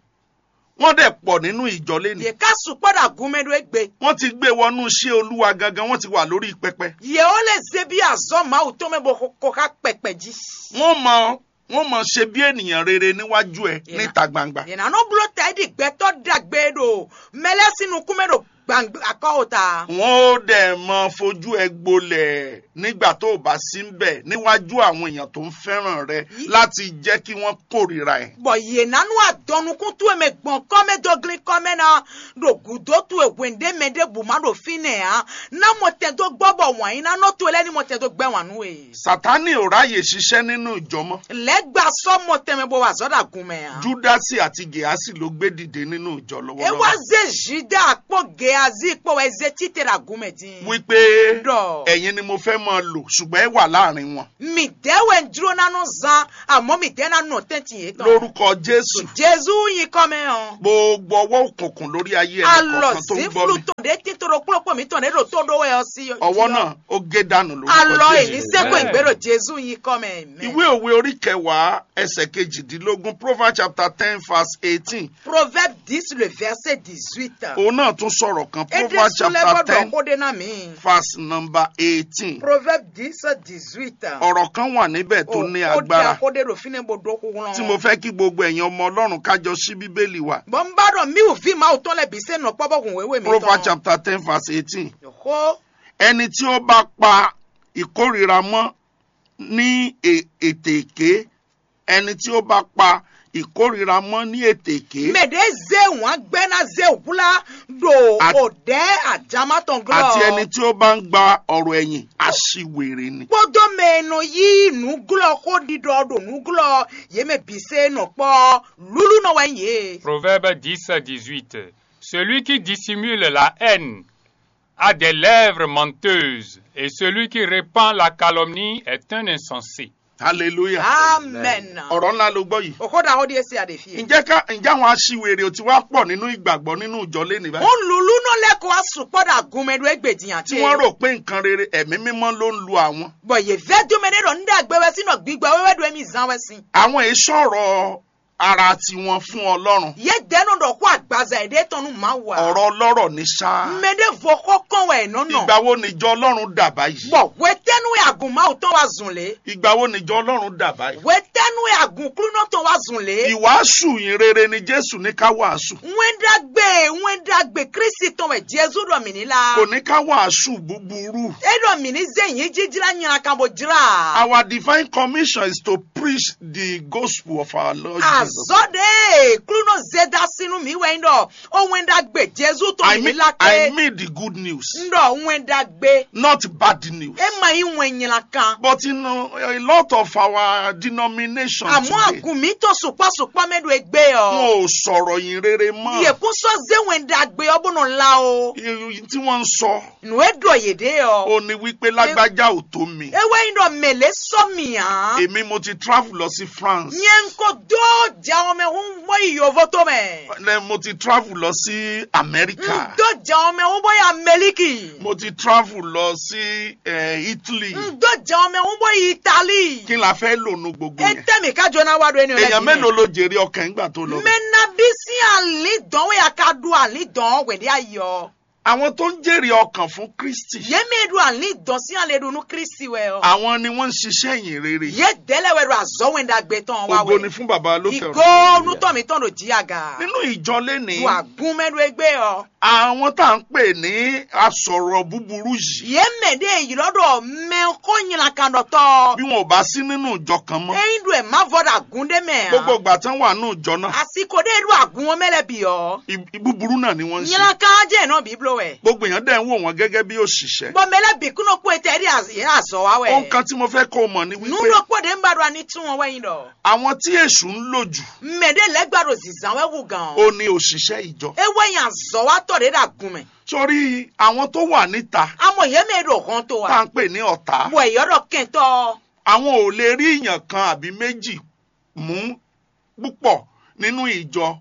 Wọ́n dẹ̀ pọ̀ nínú ìjọ lénìí. Yě ká sukpɔ́ ɖo agun mɛ ɖó égbé. Wọ́n ti gbé wọnú iṣẹ́ Olúwa gangan, wọ́n ti wà lórí pẹpẹ. Yě ó lé zé bí azɔ̌ Mawu tɔn mɛ bó ko xá kpɛkpɛ jí. Wọ́n mọ wọ́n mọ ṣe bí ènìyàn rere níwájú ẹ Yě ná- níta gbangba. Yě ná nɔ bló ta é ɖi gbɛtɔ́ ɖagbe ɖo mɛ lɛ́ɛ sín nukún mɛ ɖo Gbàngbà akɔ́wòta. Wọn ó dẹ̀ mọ fojú ẹ gbolẹ̀ nígbà tó o bá sí ń bẹ̀ níwájú àwọn èèyàn tó ń fẹ́ràn rẹ láti jẹ́ kí wọ́n kórìíra ẹ. Bɔ yě ná nú adɔnnukún towe mɛ gbɔn kɔ́ mɛ dó glín kɔ́ mɛ ná ɖo gǔdo towe hwěndé mɛ ɖěbǔ má ɖo fínɛ́ ǎ. Ná mɔtɛn dó gbɔ bɔ wǎn yí ná nɔ towe lɛ́ɛ ní mɔtɛn dó gbɛ́ wǎn nú we. Satani ò ráyè ṣiṣẹ́ nínú ìjọ mọ́. Lɛ̌ gba sɔ́ mɔtɛn mɛ bó wa azɔ̌ ɖo agun mɛ ǎ. Júdásì àti Gèásì ló gbé dìde nínú ìjọ. É wá lọ́wọ́lọ́wọ́. Zé Juda kpó Geazi kpó wɛ zé títè ɖo agun mɛ din. Wípé Ɖɔ. Ẹ̀yin ni mo fẹ́ máa lò, ṣùgbọ́n ẹ wà láàrin wọn. Mǐdɛɛ wɛ un jló ná nɔ zán, àmọ́ mǐdɛɛ ná nɔ tɛ́ntin yětɔn. Lórúkọ Jésù. Jezu nyí kɔ́ mɛ ɔ́. Gbogbo ọwọ́ òkùnkùn lórí ayé ẹni Alɔ kọ̀ọ̀kan tó ń gbọ́ zǐnflu mi. Tɔn ɖé tín tó ɖo kplɔ́kpɔ mǐtɔn ɖé ɖo tó ɖó wɛ ɔ́ sí. Ọwọ́ náà ó gé dànù lórúkọ Alɔ Jésù. Èní sẹ́kọ̀ọ́ ìgbéró Jezu nyí kɔ́ mɛ. Amen. Ìwé òwe orí kẹwàá ẹsẹ̀ kejìdínlógún, Proverbs chapter ten verse eighteen. Proverbe dix, le verset dix-huit. Òun náà tún sọ̀rọ̀ kan. Proverbs chapter ten, verse number eighteen. Proverbe dix, dix-huit. Ọ̀rọ̀ kan wà níbẹ̀ tó ní agbára. Ó dá kó dé ɖo fínɛ́ bó dó kúkúrú. Tí mo fẹ́ kí gbogbo ẹ̀yin ọmọ Ọlọ́run ká jọ ṣí Bíbélì wa. Bɔn n bá ɖɔ mí wò ví Mawu tɔn lɛ bǐ sɛ́ nɔ kpɔ́ bɔ hùn wéwé mi Proverbs chapter ten verse eighteen. Xó. Ẹni tí ó bá pa ìkórìíra mọ́ ní è- ètèké, ẹni tí ó bá pa ìkórìíra mọ́ ní ètèké. Mɛ ɖě zé wǎn gbɛ́ ná zé hwlá ɖo At- òdɛ́ ajamá tɔn glɔ́. Àti ẹni tí ó bá ń gba ọ̀rọ̀ ẹ̀yìn aṣiwèrè ni. Kpódó mɛ e nɔ yí nǔglɔ́ xó ɖiɖɔ ɖo nǔglɔ́ yě mɛ bǐ se nɔ kpɔ́ lúlú nɔ wɛ nyí yě. Proverbe dix, dix-huit. Celui qui dissimule la haine a des lèvres menteuses, et celui qui répand la calomnie est un insensé. Hallelujah. Amen. Ọ̀rọ̀ ńlá ló gbọ́ yìí. Òkó ɖaxó ɖíe sí àdè fíe. Ǹjẹ́ ká ǹjẹ́ àwọn aṣiwèrè ò ti wá pọ̀ nínú ìgbàgbọ́ nínú ìjọ lé ní báyìí? Ó lulú nɔ lɛ́ kó wá sukpɔ́ ɖo agun mɛ ɖó égbè din àti. Tí wọ́n rò pé nǹkan rere ẹ̀mí mímọ́ ló ń lu àwọn. Bɔ yě vɛ́ dó mɛ ɖé ɖɔ ní ɖagbe wɛ sín nɔ gbígbɛ wéwé ɖo émí zán wɛ sín. Àwọn èso ọ̀rọ̀ ara tiwọn fún Ọlọ́run. Yě dɛ́ nɔ ɖɔ xó agbaza yěɖée tɔn nú Mawu ǎ. Ọ̀rọ̀ ọlọ́rọ̀ ní ṣá. Mɛ ɖěvo xó kɔn wɛ è nɔ nɔ. Ìgbà wo nìjọ Ọlọ́run dà báyìí? Bɔ hwetɛ́nu wɛ agun Mawu tɔn wá zun lě? Ìgbà wo nìjọ Ọlọ́run dà báyìí? Hwetɛ́nu wɛ agun Klúnɔ tɔn wá zun lě? Ìwàásù yìí rere ni Jésù ní ká wàásù. Wɛn ɖagbe, wɛn ɖagbe Kristi tɔn wɛ Jezu ɖɔ mǐ ní lá. Kò ní ká wàásù búburú. É ɖɔ mǐ ní zé yǐ jijlá nylakan bó jlá. Our divine commission is to preach the gospel of our Lord Jesus. Azɔ́ ɖe Klúnɔ zé dó así nú mǐ wɛ nyí ɖɔ ó wɛn ɖagbe Jezu tɔn I mǐ ní mean, lá I kpé. Mean the good news, N ɖɔ wɛn ɖagbe. Not bad news. É ma nyí wɛn nylakan. But in uh, a lot of our denominations Àmọ́ today, àgùn mǐtɔn sukpɔ́ sukpɔ́ mɛ ɖo égbé ɔ́. Wọn ò sọ̀rọ̀ yín rere mọ́. Yě kún sɔ́ zé wɛn ɖagbe ɔ́ bó nɔ lá o. Tí wọ́n ń sọ. Nǔ e ɖɔ yě ɖe ɔ́. Ó ní wípé lágbájá ò tó mi. É wɛ nyí ɖɔ mɛ̌ lě sɔ́ mì ǎ. Èmi mo ti travel lọ sí France. Nyɛ ŋko dó jɛ ɔmɛ hún bó yi yǒvó tó mɛ. Mo ti travel lọ sí America. N dó jɛ ɔmɛ hún bó yi Amɛlíkì. Mo ti travel lọ sí eh, Italy. N dó jɛ ɔmɛ hún bó yi Italí. Kí la fẹ́ lò nu gbogbo yẹn? Etɛ́ mì ká jọ ná wá ɖo énìyàn lẹ́yìn. Èèyàn mélòó ló jèrè ọkàn nígbà tó lọ? Mɛ nabí sín alǐndɔn wɛ a ka ɖu alǐndɔn hwɛ̌ɖé ayé ɔ́. Àwọn tó ń jèrè ọkàn fún Kristi. Yě mɛ e ɖo alǐndɔn sín alɛ ɖo nú Kristi wɛ ɔ́. Àwọn ni wọ́n ń ṣiṣẹ́ ìyìn rere. Yě dɛ́ lɛ́ wɛ ɖo azɔ̌ wɛn ɖagbe tɔn wá wɛ. Ògo ni fún Baba lókè ọ̀run. Ìgò onútọ̀ mǐtɔn ɖo jí aga. Nínú ìjọ lénìí. Wà gún mɛ ɖo égbé ɔ́. Àwọn tá à ń pè ní asọ̀rọ̀ búburú yìí. Yě mɛ ɖé ylɔ́ ɖɔ mɛ xó nylakanɖɔtɔ́. Bí wọn ò bá sí nínú ìjọ kan mọ́. Ényí ɖo ɛ má vɔ ɖo agún ɖé mɛ ǎ. Gbogbo ìgbà tán wà nínú ìjọ náà. Àsìkò ɖé ɖo agún ɔ́ mɛ lɛ́ bǐ ɔ́. Búburú náà ni wọ́n ń ṣe. Nylankan jẹ́ náà bí bló wɛ. Gbogbo èèyàn dẹ̀ ń wò wọ́n gẹ́gẹ́ bí òṣìṣẹ́. Bɔ mɛ lɛ́ bǐ kún nɔ kpó etɛ ɖi azɔ̌ wa wɛ. Ohun kan tí mo fẹ́ kó o mọ̀ ni wípé. Nú ɖokpó ɖé ń ba ɖo ani tún wọn wɛ nyi ɖɔ. Àwọn tí èṣù ń lò jù. Mɛ ɖé lɛ́ gba ɖo zǐzán wɛ hú gǎn ɔ́. Ó ní òṣìṣẹ́ ìjọ. É wɛ nyi azɔ̌watɔ́ ɖé ɖo agun mɛ. Sórí àwọn tó wà níta. Àmọ́ yě mɛ ɖo hɔn tó wa. Tá à ń pè ní ọ̀tá. Bɔ yɔ́ ɖɔ kɛntɔ́. Àwọn ò lè rí èèyàn kan àbí méjì mú púpọ̀ nínú ìjọ.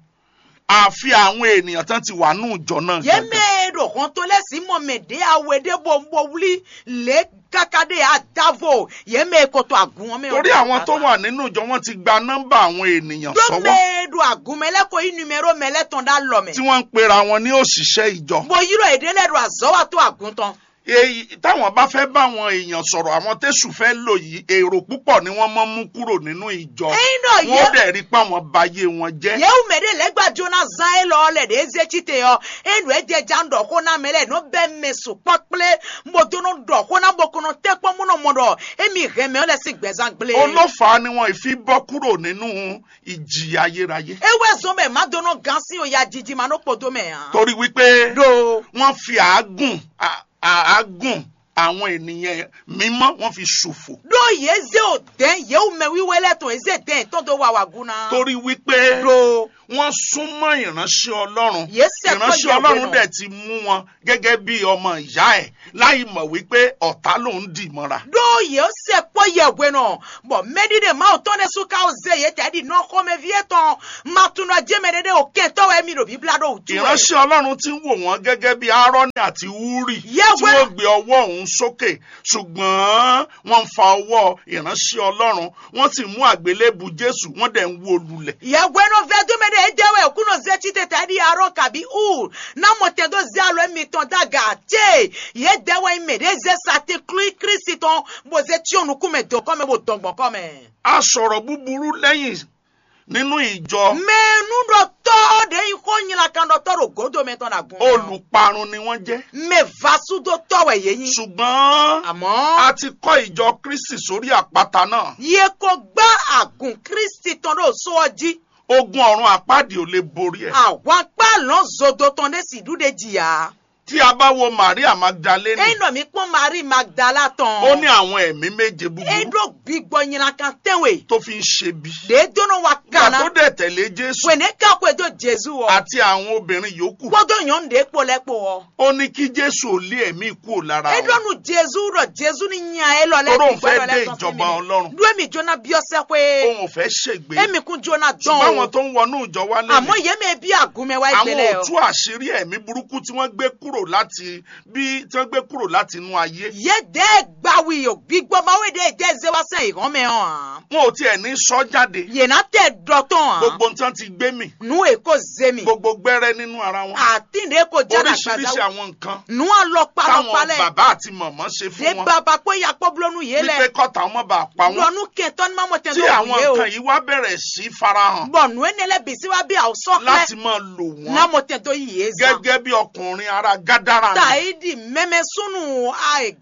Àfi àwọn ènìyàn tán ti wà nínú ìjọ náà. Yě gangan. Mɛ ɖo hɔn tó lɛ́ sí mɔ mɛ ɖě awe ɖé bó bó wlí lě káká ɖé adavo. Yě mɛ kɔtɔ agun ɔ́ mɛ. Torí àwọn tó wà nínú ìjọ wọn ti gba nọ́mbà àwọn ènìyàn sọ́wọ́. Mɛ ɖo agun mɛ lɛ́ ko yí numero mɛ lɛ́ tɔn ɖó alɔ mɛ. Tí wọ́n ń pera wọn ní òṣìṣẹ́ ìjọ. Bó ylɔ́ yěɖée lɛ́ ɖo azɔ̌ wa tó agun tɔn. Èyí táwọn bá fẹ́ bá àwọn èèyàn sọ̀rọ̀, àwọn tẹ́sù fẹ́ lò yìí, èrò púpọ̀ ni wọ́n mọ́ mú kúrò nínú ìjọ. Ényí ɖɔ wọ́n yɛ- dẹ̀ rí pé àwọn ba yé wọn jẹ́. Yewu mɛ ɖe lɛ gba Jona zan élɔ́ lɛ ɖě zé cíte ɔ́, é ɖo é jɛ ja ɖɔ xó ná mɛ lɛ nɔ bɛ mɛ sukpɔ́ kplé, bó dó nɔ ɖɔ xó ná bó kɔnɔ tɛ́ kpɔ́n mú nɔ mɔ ɖɔ émi hɛn mɛ ɔ́ lɛ sín gbɛzán gblé. Olófa ni wọn ìfí bọ́ kúrò nínú ìjì ayérayé. É wɛ zɔn bɛ má dó nɔ gán sín o ya jiji ma nɔ kpɔdó mɛ ǎ. Torí wípé ɖo wọ́n fi àágùn, à- àágùn àwọn ènìyàn mímọ́ wọ́n fi ṣòfò. Ɖó yě zé o dɛ̌n yě wú mɛ wíwé lɛ́ɛ tɔn yě zé dɛ̌n yětɔn dó wa wǎgún ná. Torí wípé ɖo wọ́n súnmọ́ ìránṣẹ́ Ọlọ́run. Yě sɛ kpɔ́ Ìránṣẹ́ yɛ Ọlọ́run hwenu. Dẹ̀ ti mú wọn gẹ́gẹ́ bí ọmọ ìyá ẹ̀, láì mọ̀ wípé ọ̀tá lòún dì mọ́ra. Ɖó yě sɛ kpɔ́ yɛ hwenu, bɔ mɛɖiɖe Mawu tɔn ɖésú ka ó zé yě tɛ ɖi nɔ xɔmɛví étɔn ma tunɔ jɛ mɛ ɖé ɖé o kɛntɔ́ wɛ mi ɖo bíblá ɖó wútu wɛ. Ìránṣẹ́ Ọlọ́run ti ń wò wọ́n gẹ́gẹ́ bí Aaroni àti Huri Yɛ tí hwenu wọ́n gbé ọwọ́ òun sókè, ṣùgbọ́n wọ́n ń fa ọwọ́ ìránṣẹ́ Ọlọ́run, wọ́n sì mú àgbélébù Jésù, wọ́n dẹ̀ ń wó lulẹ̀. Yɛ hwenu vɛdúmɛ ɖe é jɛ wɛ òkúnɔ zé cí tete ɖi Aarɔn kabi Ur ná mɔ tɛn dó zé alɔ mitɔn dó aga ce yě dɛ wɛ nyí mɛ ɖě zé satín klú Klísu tɔn bó zé cyɔ́n nukún mɛ dɔ̌nkɔ́ mɛ bó dɔn gbɔn kɔ́ mɛ. A sɔ̀rọ̀ búburú lẹ́yìn nínú ìjọ. Mɛ nú ɖɔ tɔ́ ɖě nyí xó nylakanɖɔtɔ́ ɖo gǒdo mɛ tɔn ɖo agun mɛ ɔ́. Olùparun ni wọ́n jẹ́. Mɛ vasúdótɔ́ wɛ yě nyí. Ṣùgbọ́n Àmọ́ a ti kọ́ ìjọ Kristi sórí àpáta náà. Yě ko gbá agun Kristi tɔn ɖo só ɔ́ jí. Ogun ọ̀run àpáàdì ò lè borí ẹ̀. Àwankpá lɔ̌n zodo tɔn ɖé sì ɖú ɖe jì ǎ. Tí a bá wo Maria Magdalene, Ényí ɖɔ mǐ kpɔ́n Marie Magdala tɔn. Ó ní àwọn ẹ̀mí méje búburú. É ɖó gbigbɔ nylankan tɛ́nwe. Tó fi ń ṣe bí. Ɖě dó nɔ wa Nígbà kan ná. Tó dẹ̀ tẹ̀lé Jésù Wěnɛ́ ká xwedó Jezu ɔ́. Àti àwọn obìnrin yòókù. Kpódó nyɔ̌nu ɖě kpo lɛ́ɛ kpo ɔ́. Ó ní kí Jésù lé ẹ̀mí kúrò lára É ɖɔ wọn. Nú Jezu ɖɔ Jezu ní nya élɔ́ lɛ́ɛ Toró òun fẹ́ dé ìjọba Ọlọ́run. Ɖó émí jóná byɔ́ sɛ́xwé. Òun ò fẹ́ ṣègbé. Émí kún jóná dán Ṣùgbọ́n o. Àwọn tó ń wọnú ìjọ wá lé Àmọ́ yě mɛ bí àgúnmɛ wá Àwọn ìgbélé ò o. Tú àṣírí ẹ̀mí burúkú tí wọ́n gbé kúrò láti bí tí wọ́n gbé kúrò láti inú ayé. Yě dɛ́ gbawi o gbígbó Mawu ɖe jẹ́ zé wá sɛn ìhɔn mɛ ɔ́ ǎ. Wọn ò tiẹ̀ ní sọ jáde. Yě ná tɛ ɖɔ tɔn ǎ. Gbogbo nǹkan ti gbé mì. Nú è kó zé mì. Gbogbo gbẹ́rẹ́ nínú ara wọn. Àtínɖe kò jẹ́ Oríṣiríṣi làgbàdá. Àwọn nǹkan Nú alɔkpa táwọn lɔkpa lɛ. Bàbá àti màmá ṣe Dé fún wọn. Baba kpó ya kpó bló nú yě lɛ. Wípé kọ́ta wọn má bàa pa wọn. Lɔ nú kẹtɔn ní má mọ tẹn Tí tó àwọn yé o. Nǹkan yìí wá bẹ̀rẹ̀ sí farahàn. Bɔ nú énɛ́ lɛ bǐ sí wá bí àwòsàn Láti máa lò wọ́n. Ná mọ tẹn tó yé zan. Gẹ́gẹ́ bí ọkùnrin ará Gádárà náà. Tàídì mẹ́mẹ́ súnú àì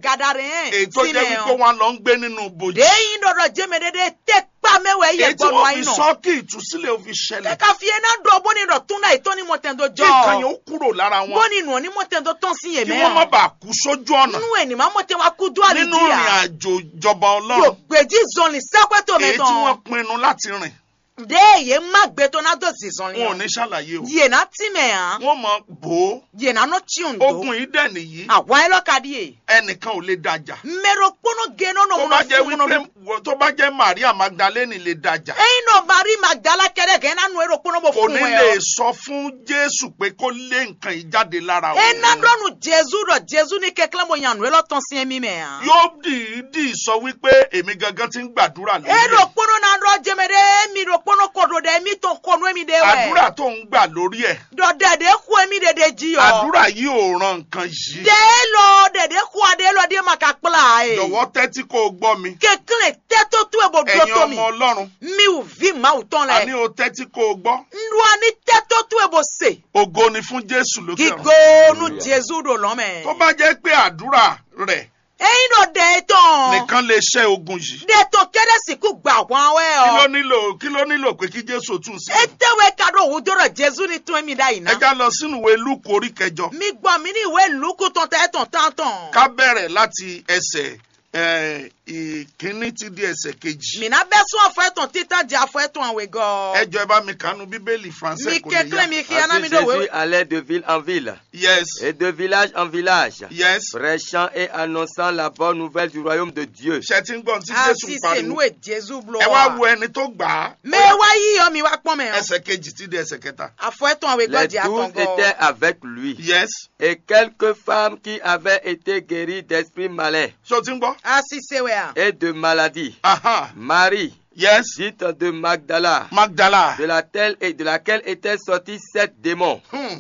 Gadaré Èyí tó jẹ́ wípé wọn lọ ń gbé nínú bòjì. Dé yín ɖɔɖɔ jẹ́ mɛ ɖé ɖé tẹ́ kpa mɛ wɛ yɛ Èyí tí gbɔdɔ wọ́n ayi fi nɔ. Sọ kí ìtúsílẹ̀ ó fi ṣẹlẹ̀. Kàkà fi ena ɖɔ bó ni ɖɔ tún náà ìtọ́ ni mɔ tɛn dó Kí nǹkan yẹn jɔ. Ó kúrò lára wọn. Bó ni nù ọ́ ní mɔ tɛn dó tɔn sí yé Kí mɛ. Wọ́n má bàa kú sójú ọ̀nà. Nínú ẹ̀ ní má mọ tẹn wá kú dó àlè Nínú díà. Ìrìn àjò ìjọba Ọlọ́run. Yóò gbèjì zɔnlin sẹ́pẹ́ tó mẹ Èyí tí tán. Wọ́n pinnu láti rìn. Dé yé má gbé tó ná dó zizɔnlin Wọn ò o. Ní ṣàlàyé o. Yé ná tí mɛ hàn. Wọ́n mọ bò ó. Yé ná nɔ tí òun dó. Ogun yìí dẹ̀ nìyí. Àwa ẹ lọ ka díè. Ẹnìkan ò lè dájà. Mɛ ɖokpónɔ gé nɔ nɔ Tó mɔ bá jẹ́ nɔ wípé fún nɔ. Tó bá jẹ́ Maria Magdalene lè dájà. Eyin nɔ Mari Magdala kɛɖɛ gɛn ná nu e ɖokpónɔ bó Kò fún ní wɛ lè ɔ. Sọ fún Jésù pé kó lé nǹkan yìí jáde lára E òun. Ná ɖɔ nu Jezu ɖɔ Jezu ní kɛklɛ́n bó nya nǔ élɔ́ tɔn sín émí mɛ ǎ. Yóò dìídì sọ wípé èmi gangan ti ń gbàdúrà lórí E ẹ̀. Ɖokpónɔ ná ɖɔ jɛmɛ ɖé mi ɖokpónɔ ko ɖo ɖɛ mi tɔn ko nú émi ɖe wɛ. Àdúrà tó ń gbà lórí ẹ̀. Ɖɔ ɖɛ ɖě xo émi ɖe ɖe jí ɔ. Àdúrà yìí ò ràn nǹkan yìí. Ɖɛ élɔ́ ɖɛ ɖě xo aɖe élɔ́ ɖíe ma ka kplá ǎ e. Jọ̀wọ́ tɛ́tí kó o gbọ́ mi. Kɛnklɛ́n tɛ́ tó towe bó ɖó Ẹ̀yin tó mi. Ọmọ Ọlọ́run. Mi wù ví Mawu tɔn lɛ. Àní o tɛ́tí kó o gbọ́. Nɖu ani tɛ́ tó towe bó se. Ògo ni fún Jésù lókè ọ̀run. Gigo nu Jezu ɖo lɔn mɛ. Tó bá jẹ́ pé àdúrà rẹ̀ Eyin ɖɔ ɖɛ etɔn. Nìkan lè ṣẹ́ ogun yìí. Ɖɛ tɔn kɛɖɛ sìnkú gba hwan wɛ Kí ló ɔ. Nílò kí ló nílò pé kí Jésù tún sí? Ete wɛ ka ɖo wu dó ɖɔ Jezu ni tún émi ɖ'ayǐ ná. Ẹ já lọ sínú ìwé Lúùkù orí kẹjọ. Mi gbɔ mi ní ìwé Lúkù tɔn tɛ etɔn tán tɔn. Ká bẹ̀rẹ̀ láti ẹsẹ̀ ẹ̀, ìkíní ti di ẹsẹ̀ kejì. Mi ná bɛ sún afɔ etɔn títán jɛ afɔ etɔn awegɔ. Ẹ jọ ẹ bá mi kànú Bíbélì Français Mi kò lè yá. Kɛnklɛn mi xia ná Ainsi mi ɖo Jésus we. Allait de ville en ville Yes. Et de village en village, Yes. Prêchant et annonçant la bonne nouvelle du royaume de Dieu. Ṣé ti ń gbọ́n tí Jésù Asi ń se pariwo? Nu e Jezu blo Ẹ wá wa. Wo ẹni tó gbà á. Mɛ wa yi yɔ mi wa kpɔn mɛ o. Ẹsẹ̀ kejì ti di ẹsẹ̀ kẹta. Afɔ etɔn awe Les gɔdzi douze atɔn gɔ. Étaient avec lui. Yes. Et quelques femmes qui avaient été guéries d'esprits malins. Ṣé o ti ń gbọ́? Asi se wɛ a. Et de maladies. Aha. Marie, Yes. Dite de Magdala, Magdala. De laquelle, et de laquelle étaient sortis sept démons. Hmm.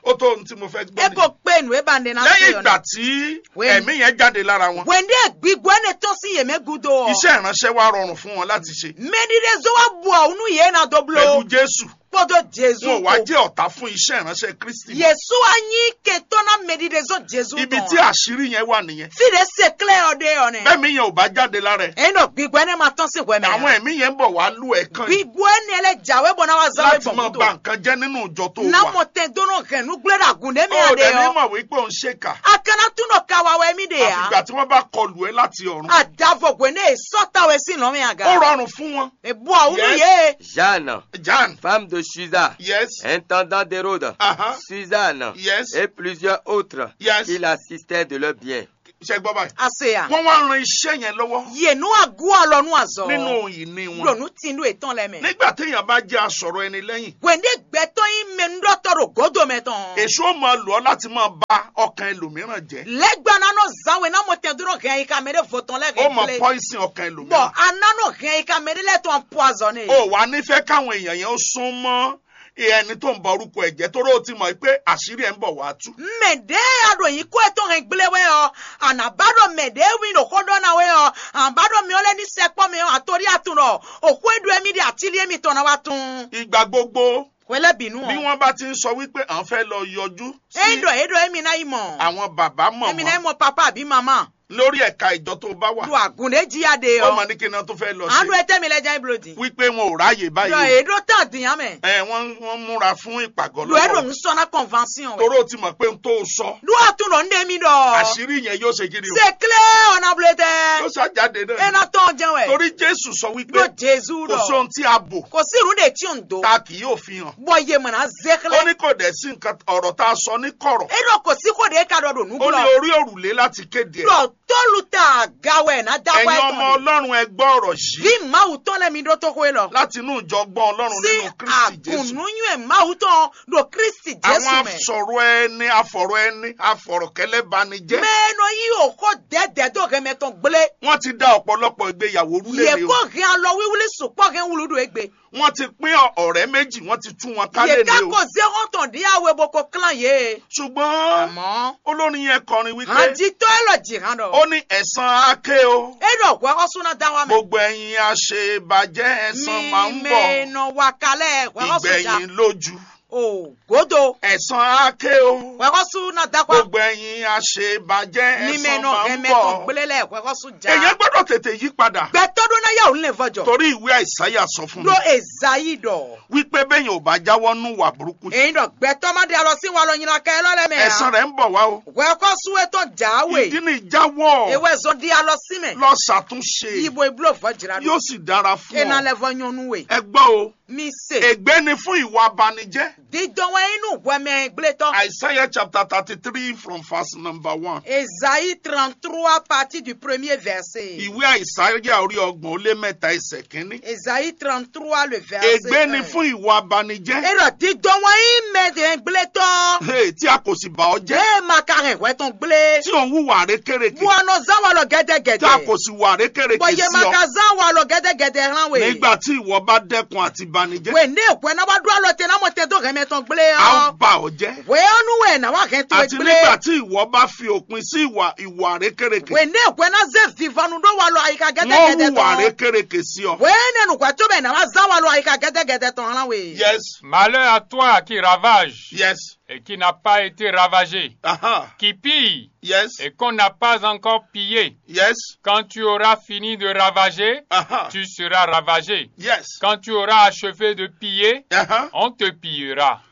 Ó tó ohun tí mo fẹ́ gbọ́ E nìyẹn. Ko kpe nǔ e ba ɖe ná Lẹ́yìn ṣe ɔ́ ìgbà nɛ. Tí Wẹ́n. Ẹ̀mí yẹn jáde lára wọn, Wɛn ɖe gbígbó énɛ́ tɔ́n sín yě mɛ gúdo ɔ́. Iṣẹ́ ìránṣẹ́ wá rọrùn fún wọn láti ṣe. Mɛɖiɖezó wá bu awǔ nú yě ná dó bló. Pẹ̀lú Jésù. Kpódó Jezu Wọn ò wá kpó. Jẹ́ ọ̀tá fún iṣẹ́ ìránṣẹ́ Kristi. Yesu wá nyí kɛntɔ́ ná mɛɖiɖezó Jezu Ibi tɔn tí ǎ. Àṣírí yẹn wà nìyẹn. Fí ɖě se klɛ́ ɔ́ ɖe ɔ́ nɛ. Bẹ́ẹ̀ mi yẹn ò bá jáde lára ẹ̀. Èyí nɔ gbígbó énɛ́ ma tɔ́n sín hwɛ mɛ. Àwọn ẹ̀mí yẹn ń bọ̀ wá lù ẹ̀ kàn. Gbígbó énɛ́ lɛ́ jǎwe bɔ ná wá zán we Láti gbɔn máa gúdo. Ba nǹkan jẹ́ nínú ìjọ tó Ná wà. Mɔ tɛn dó nɔ hɛn nú gblé ɖo agun ɖé mɛ O ò a ɖe dẹ̀ ní ɔ́. Mọ̀ wípé òun ṣe kà. A ka ná tún nɔ ka wa wɛ mí ɖe ǎ. Àfìgbà tí wọ́n bá kọlù ẹ́ láti ọ̀run. Àdàvɔ hwě ní èso ta wɛ sín nɔ mɛ aga. Ó rọrùn fún wọn. Èbú àwùjọ Yes. Yé. Jeanne, Jeanne. Femme de Susa, Yes. Intendant d'Hérode, Uh-huh. Suzanne Yes. Et plusieurs autres Yes. Qui l'assistaient de leurs biens. Ṣé gbọ́ báyìí? Àṣeyà. Wọ́n wá ran iṣẹ́ yẹn lọ́wọ́. Yè nú agú alɔ nú azɔ. Nínú ìní wọn. Ɖo nú tinú ètɔn lɛ mɛ. Nígbà téèyàn bá jẹ́ asọ̀rọ̀ ẹni lẹ́yìn. Wɛ̀ndé gbɛtɔ́ yín mɛ nú ɖɔtɔ́ ɖo gǒdo mɛ tɔn. Èṣù ó máa lò ọ́ láti máa ba ọkàn ẹlòmíràn jẹ́. Lɛ́gbá ná nɔ zán we ná mɔ tɛn dó nɔ hɛn ayi ka mɛ ɖé vo tɔn lɛ́ Ó hɛn máa gblé. Pọ́ìsìn ọkàn Bɔ ẹlòmíràn. A ná nɔ hɛn ayi ka mɛ ɖé lɛ́ɛ tɔn poison ɛ. O wá nífẹ̀ẹ́ káwọn èèyàn yẹn ó sún mọ́ ẹni tó ń bọ orúkọ ẹ̀ jẹ́, torí ó ti mọ̀ pé àṣírí ẹ̀ ń bọ̀ wá tú. Mɛ ɖě a ɖo nyǐkɔ ɛ tɔn hɛn gblé wɛ ɔ́, a nǎ ba ɖɔ mɛ ɖě wí ɖo xó ɖɔ ná wɛ ɔ́, a nǎ ba ɖɔ mɛ ɔ́ lɛ́ ní sɛkpɔ́ mɛ ɔ́, a to ɖí a tunɔ, o xó e ɖo émí ɖe atílí émí tɔn ná wá tún. Ìgbà gbogbo Hwelɛ́bǐnu bí ɔ́, wọ́n bá ti ń sọ wípé à ń fẹ́ lọ yọjú sí ényí ɖɔ é ɖɔ émí ná yi mɔ, àwọn bàbá émí ná yi mọ̀mọ́ mɔ papa àbí mamá lórí ẹ̀ka ìjọ tó bá wà, ɖo agun ɖé jí a ɖe ó ɔ́, mọ ní kí n ná tó fẹ́ lọ à ń ṣe. Ɖo étɛ́ mi lẹ́ jẹ́ blódi. Wípé wọn ò ráyè Ɖɔ báyìí. É ɖó tán dǐn á mɛ. Ẹ wọ́n wọ́n múra fún ìpàgọ́ Ɖo é ɖo lọ́wọ́. Nǔ sɔ́ ná kɔnvansiɔn wɛ. Toró ti mọ̀ pé n tó sọ. Ɖó a tún nɔ ń ɖe mí ɖɔ. Àṣírí yẹn yóò ṣe kí ni o? Ṣe klé ọ̀nà blé tẹ́. Yóò ṣàjáde É náà. Ná tɔn jẹun wɛ. Torí Jésù sọ wípé Ɖó Jezu kò sí ɖɔ. Ohun tí a bò Kò sí ìrú ɖe tí ò ń do. Tá a kì yóò fi hàn. Bɔ ye mọ̀ ná zé Ó xlẹ́. Ní kò dẹ̀ sí nǹkan ọ̀rọ̀ tá a sọ ní kọ̀rọ̀. É ɖɔ kò sí kó ɖe ka ɖɔ ɖo nú Ó ní gbɔ. Orí òrùlé láti kéde ẹ̀. Ɖɔ tólu ta aga wɛ ná da Ẹ̀yin wɛ ọmọ tɔn. Ọlọ́run, ẹ gbọ́ ọ̀rọ̀ yìí. Bí Mawu tɔn lɛ mi ɖó tó xwé lɔ. Láti inú ìjọgbọ́n Ọlọ́run Sí nínú Kristi Jésù. Àgùnnúyún ẹ̀ Mawu tɔn ɖo Kristi Jésù Àwọn mɛ. Asọ̀rọ̀ ẹni, afọ̀rọ̀ ẹni, afọ̀rọ̀ kẹlẹ́ bani jẹ́. Mɛ nɔ yí òkó dɛdɛ dó hɛmɛ tɔn gblé. Wọ́n ti da ọ̀pọ̀lọpọ̀ ìgbéyàwó rú Yě lélẹ̀ o. Kó hɛn alɔ wíwúlí sukpɔ́ hɛn wúlú ɖo égbe. Wọ́n ti pín ọ̀rẹ́ méjì, wọ́n ti tú wọn ká Yě lélẹ̀ ká o. Kó zé xɔ́ntɔn ɖíe awe bó kó klán yě. Ṣùgbọ́n Àmọ́. Olórin yẹn kọrin wípé Hànjítɔ́ élɔ́ jǐ hán ɖɔ. Ó ní ẹ̀san á ké o. É ɖɔ hwɛxɔ́sú ná dá wá mɛ. Gbogbo ẹ̀yin àṣebàjẹ́ ẹ̀san máa ń Mi bọ̀. Mɛ nɔ wa kalẹ̀ hwɛxɔ́sú jà. Ìgbẹ̀yìn lójú. O gòdò. Ẹ̀san á ké o. Hwɛxɔ́sú ná dá wá. Gbogbo ẹ̀yin àṣebàjẹ́ Mi mɛ ẹ̀san nɔ máa ń hɛn mɛ tɔn bọ̀. Gblé lɛ hwɛxɔ́sú jà. Èyàn gbọ́dọ̀ tètè yí padà. Gbɛtɔ́ ɖó ná yá òun lè vɔjɔ. Torí ìwé Àìsáyà sọ fún mi. Ɖó Ezayi ɖɔ. Wípé bẹ́yìn ò bá jáwọ́ nú wà burúkú. Èyí ɖɔ gbɛtɔ́ má ɖe alɔ sí walɔ nyina ka élɔ́ lɛ́ɛ mɛ ǎ. Ẹ̀san rẹ̀ ń bọ̀ wá o. Hwɛxɔ́sú e tɔn jǎwe. Ìdí ni jáwọ́. Ewɛ zɔn ɖi alɔ sí mɛ. Lọ ṣàtúnṣe. Yibo ibló vɔ jìrá ɖo. Yóò sì dára fún Ena ọ. Lɛ vɔ nyɔnu we. Ẹ gbọ́ o. Mi se. Ègbé ni fún ìwà abanijẹ́. Dídɔn wɛ inú hwɛmɛ gblétɔ. Isaiah chapter thirty-three from verse number one. Esaïe trente-trois partie du premier verset. Ìwé Àìsáyà orí ọgbọ̀n ó lé mẹ́ta ẹsẹ̀ kínní. Esaïe trente-trois le verset Ègbé ni un. Fún ìwà abanijẹ́. Erɔ dídɔn wɛ yín mɛ dɛn gblétɔ. Hey, tí a kò sì bà ọ́ jẹ́. Ee ma ka hɛn hwɛ tɔn gblé. Tí ò ń hùwà rékèrèkè. Bɔ anɔ zán wa lɔ gɛdɛgɛdɛ. Tí a kò sì wà rékèrèkè Bɔ ye sí ma ọ. Ka zán wa lɔ gɛdɛgɛdɛ hàn we. Nígbà tí ìwọ bá dẹ́kun àti banijẹ́. Wɛ ne hwɛ na wa ɖo alɔ te na mɔ tɛ do hɛmɛ tɔn gblé A ó ɔ. Bà ọ́ jẹ́. Wɛ ɔnu wɛ na wa hɛn to Àti gblé. Nígbà tí ìwọ bá fi òpin sí ìwà ìwà rékèrèkè. Wɛ ne hwɛ na ze vivanu ɖo wa lɔ ayika Wọ́n gɛdɛgɛdɛ hùwà tɔn. Rékèrèkè sí ọ. Wɛ ne nu hwɛ to bɛ na wa zan wa lɔ ayika gɛdɛgɛdɛ tɔn hàn we. Yes, Malheur à toi qui ravage yes. Et qui n'a pas été ravagé, Aha. Qui pille Yes. Et qu'on n'a pas encore pillé. Yes. Quand tu auras fini de ravager, Aha. Tu seras ravagé. Yes. Quand tu auras achevé de piller, Aha. On te pillera.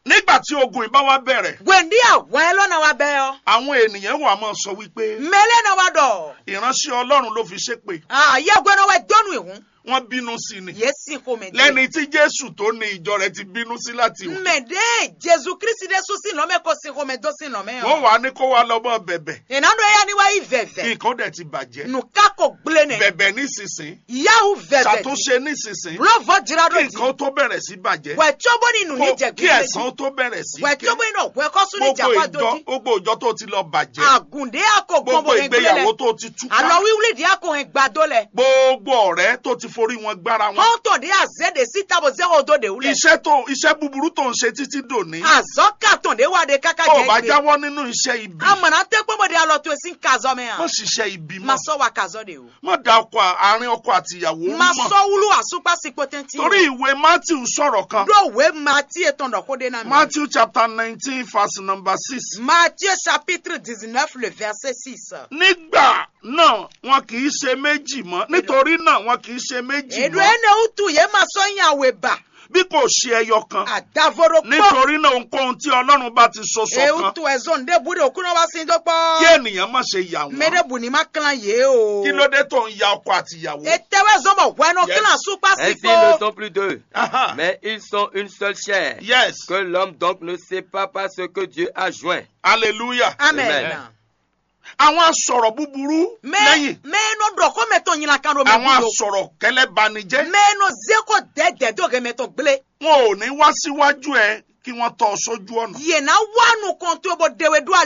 Nígbà tí ogun yìí bá wá bẹ̀rẹ̀, Gwendi awɛ lɔ na wa bɛ ɔ. Àwọn ènìyàn wà máa sọ wípé Mɛlɛ na wa dɔ. Ìránṣẹ́ Ọlọ́run ló fi ṣépè. Ah, yɛ gbɛnɔ wɛ dɔnu ihun. Wọ́n bínú sí ni. Ye si xomɛ de. Lẹ́ni tí Jésù tó ní ìjọ rẹ̀ ti bínú sí láti òkè. Mɛ de Jesu Kristi de su si nɔ mɛ ko si xomɛ do si nɔ mɛ Wọ́n ɔ. Wá ní kó wá lọ́mọ bẹ̀bẹ̀. Ena do ya ni wa yi vɛvɛ. Nǹkan dẹ̀ ti bàjẹ́. Nu ka ko gblé nɛ. Bẹ̀bẹ̀ nísinsìnyí. Yahu vɛvɛ. Ṣàtúnṣe nísinsìnyí. Blo vɔ jira do Kí di. Nǹkan tó bẹ̀rẹ̀ sí bàjẹ́. Wɛ tso bo ni nu ni Kó jɛ kí gblé di. Ẹ̀san tó bẹ̀rẹ̀ sí Wɛ ké. Tso bo ni nɔ wɛ kɔsu ni Gbogbo japa do ìjọ di. Gbogbo ìjọ tó ti lọ bàjẹ́. Agunde ako Gbogbo gbɔn bo hɛn gblé ìgbéyàwó lɛ. Tó ti tú. Alɔ wiwli di ako hɛn gbado lɛ. Gbogbo ọ̀rẹ́ tó ti forí wọn gbára wọn. Xɔ́ntɔn ɖě azě ɖě sí távo zé xo dó ɖě wú lɛ. Iṣẹ́ tó iṣẹ́ búburú tó ń ṣe títí dòní. Azɔ̌ ka tɔn ɖě wa ɖe káká Ó jẹ́ bá igbe. Jáwọ́ nínú iṣẹ́ ibi. Amọ̀nà tẹ́ kpɔ́n bɔ ɖe alɔ towe sín kazɔ mɛ a? Má ṣiṣẹ́ ibi Ma mọ́. Sɔ wa kazɔ ɖe o. Má da ọkọ àárín ọkọ àti ìyàwó Ma mọ́. Sɔ wúlú àsúkpá sí kpótẹ́ntì. Torí ìwé Matthew sọ̀rọ̀ kan. Ɖó wě Mati etɔn ɖɔ xó ɖé ná mi. Matthew chapter nineteen verse number six. Matthieu chapitre dix-neuf, le verset six. Nígbà náà wọn kì í ṣe méjì mọ́. Nítorí náà wọn kì í ṣe méjì Èɖò mọ́. Énɛ́ wútu yě ma sɔ́ nyi awě ba. Bí kò ṣe ẹyọ kan. Àdàvo ɖokpó. Nítorí náà ohunkóhun tí Ọlọ́run bá ti so Èwú ṣọ̀kan. Tu ẹ̀zọ́ ǹdẹ́bù ɖe òkú náà wá sí dókpó. Kí ènìyàn má ṣe yà wọ́n. Mɛ ɖé bù ní má klán yě o. Kí ló dé tó ń ya ọkọ àti ìyàwó? Ètè wɛ zɔn bɔ hwɛ nɔ Yes. Klán súkpá sí Ainsi ils ne kpó. Sont plus deux, Aha. Mais ils sont une seule chair. Yes. Que l'homme donc ne sépare pas ce que Dieu a joint. Hallelujah. Amen. Amen. Àwọn asọ̀rọ̀ búburú Mɛ lẹ́yìn. Mɛ nɔ ɖɔ xó mɛ tɔn nyina kan ɖo mɛ Àwọn gúdo. Asọ̀rọ̀ kɛlẹ́ banijẹ́. Mɛ nɔ zé kó dɛdɛ dó hɛ mɛ tɔn gblé. Wọn ò ní wá síwájú ẹ kí wọ́n tọ́ ọ sójú ọ̀nà. Yě ná wá nukɔn tó bó dewe ɖó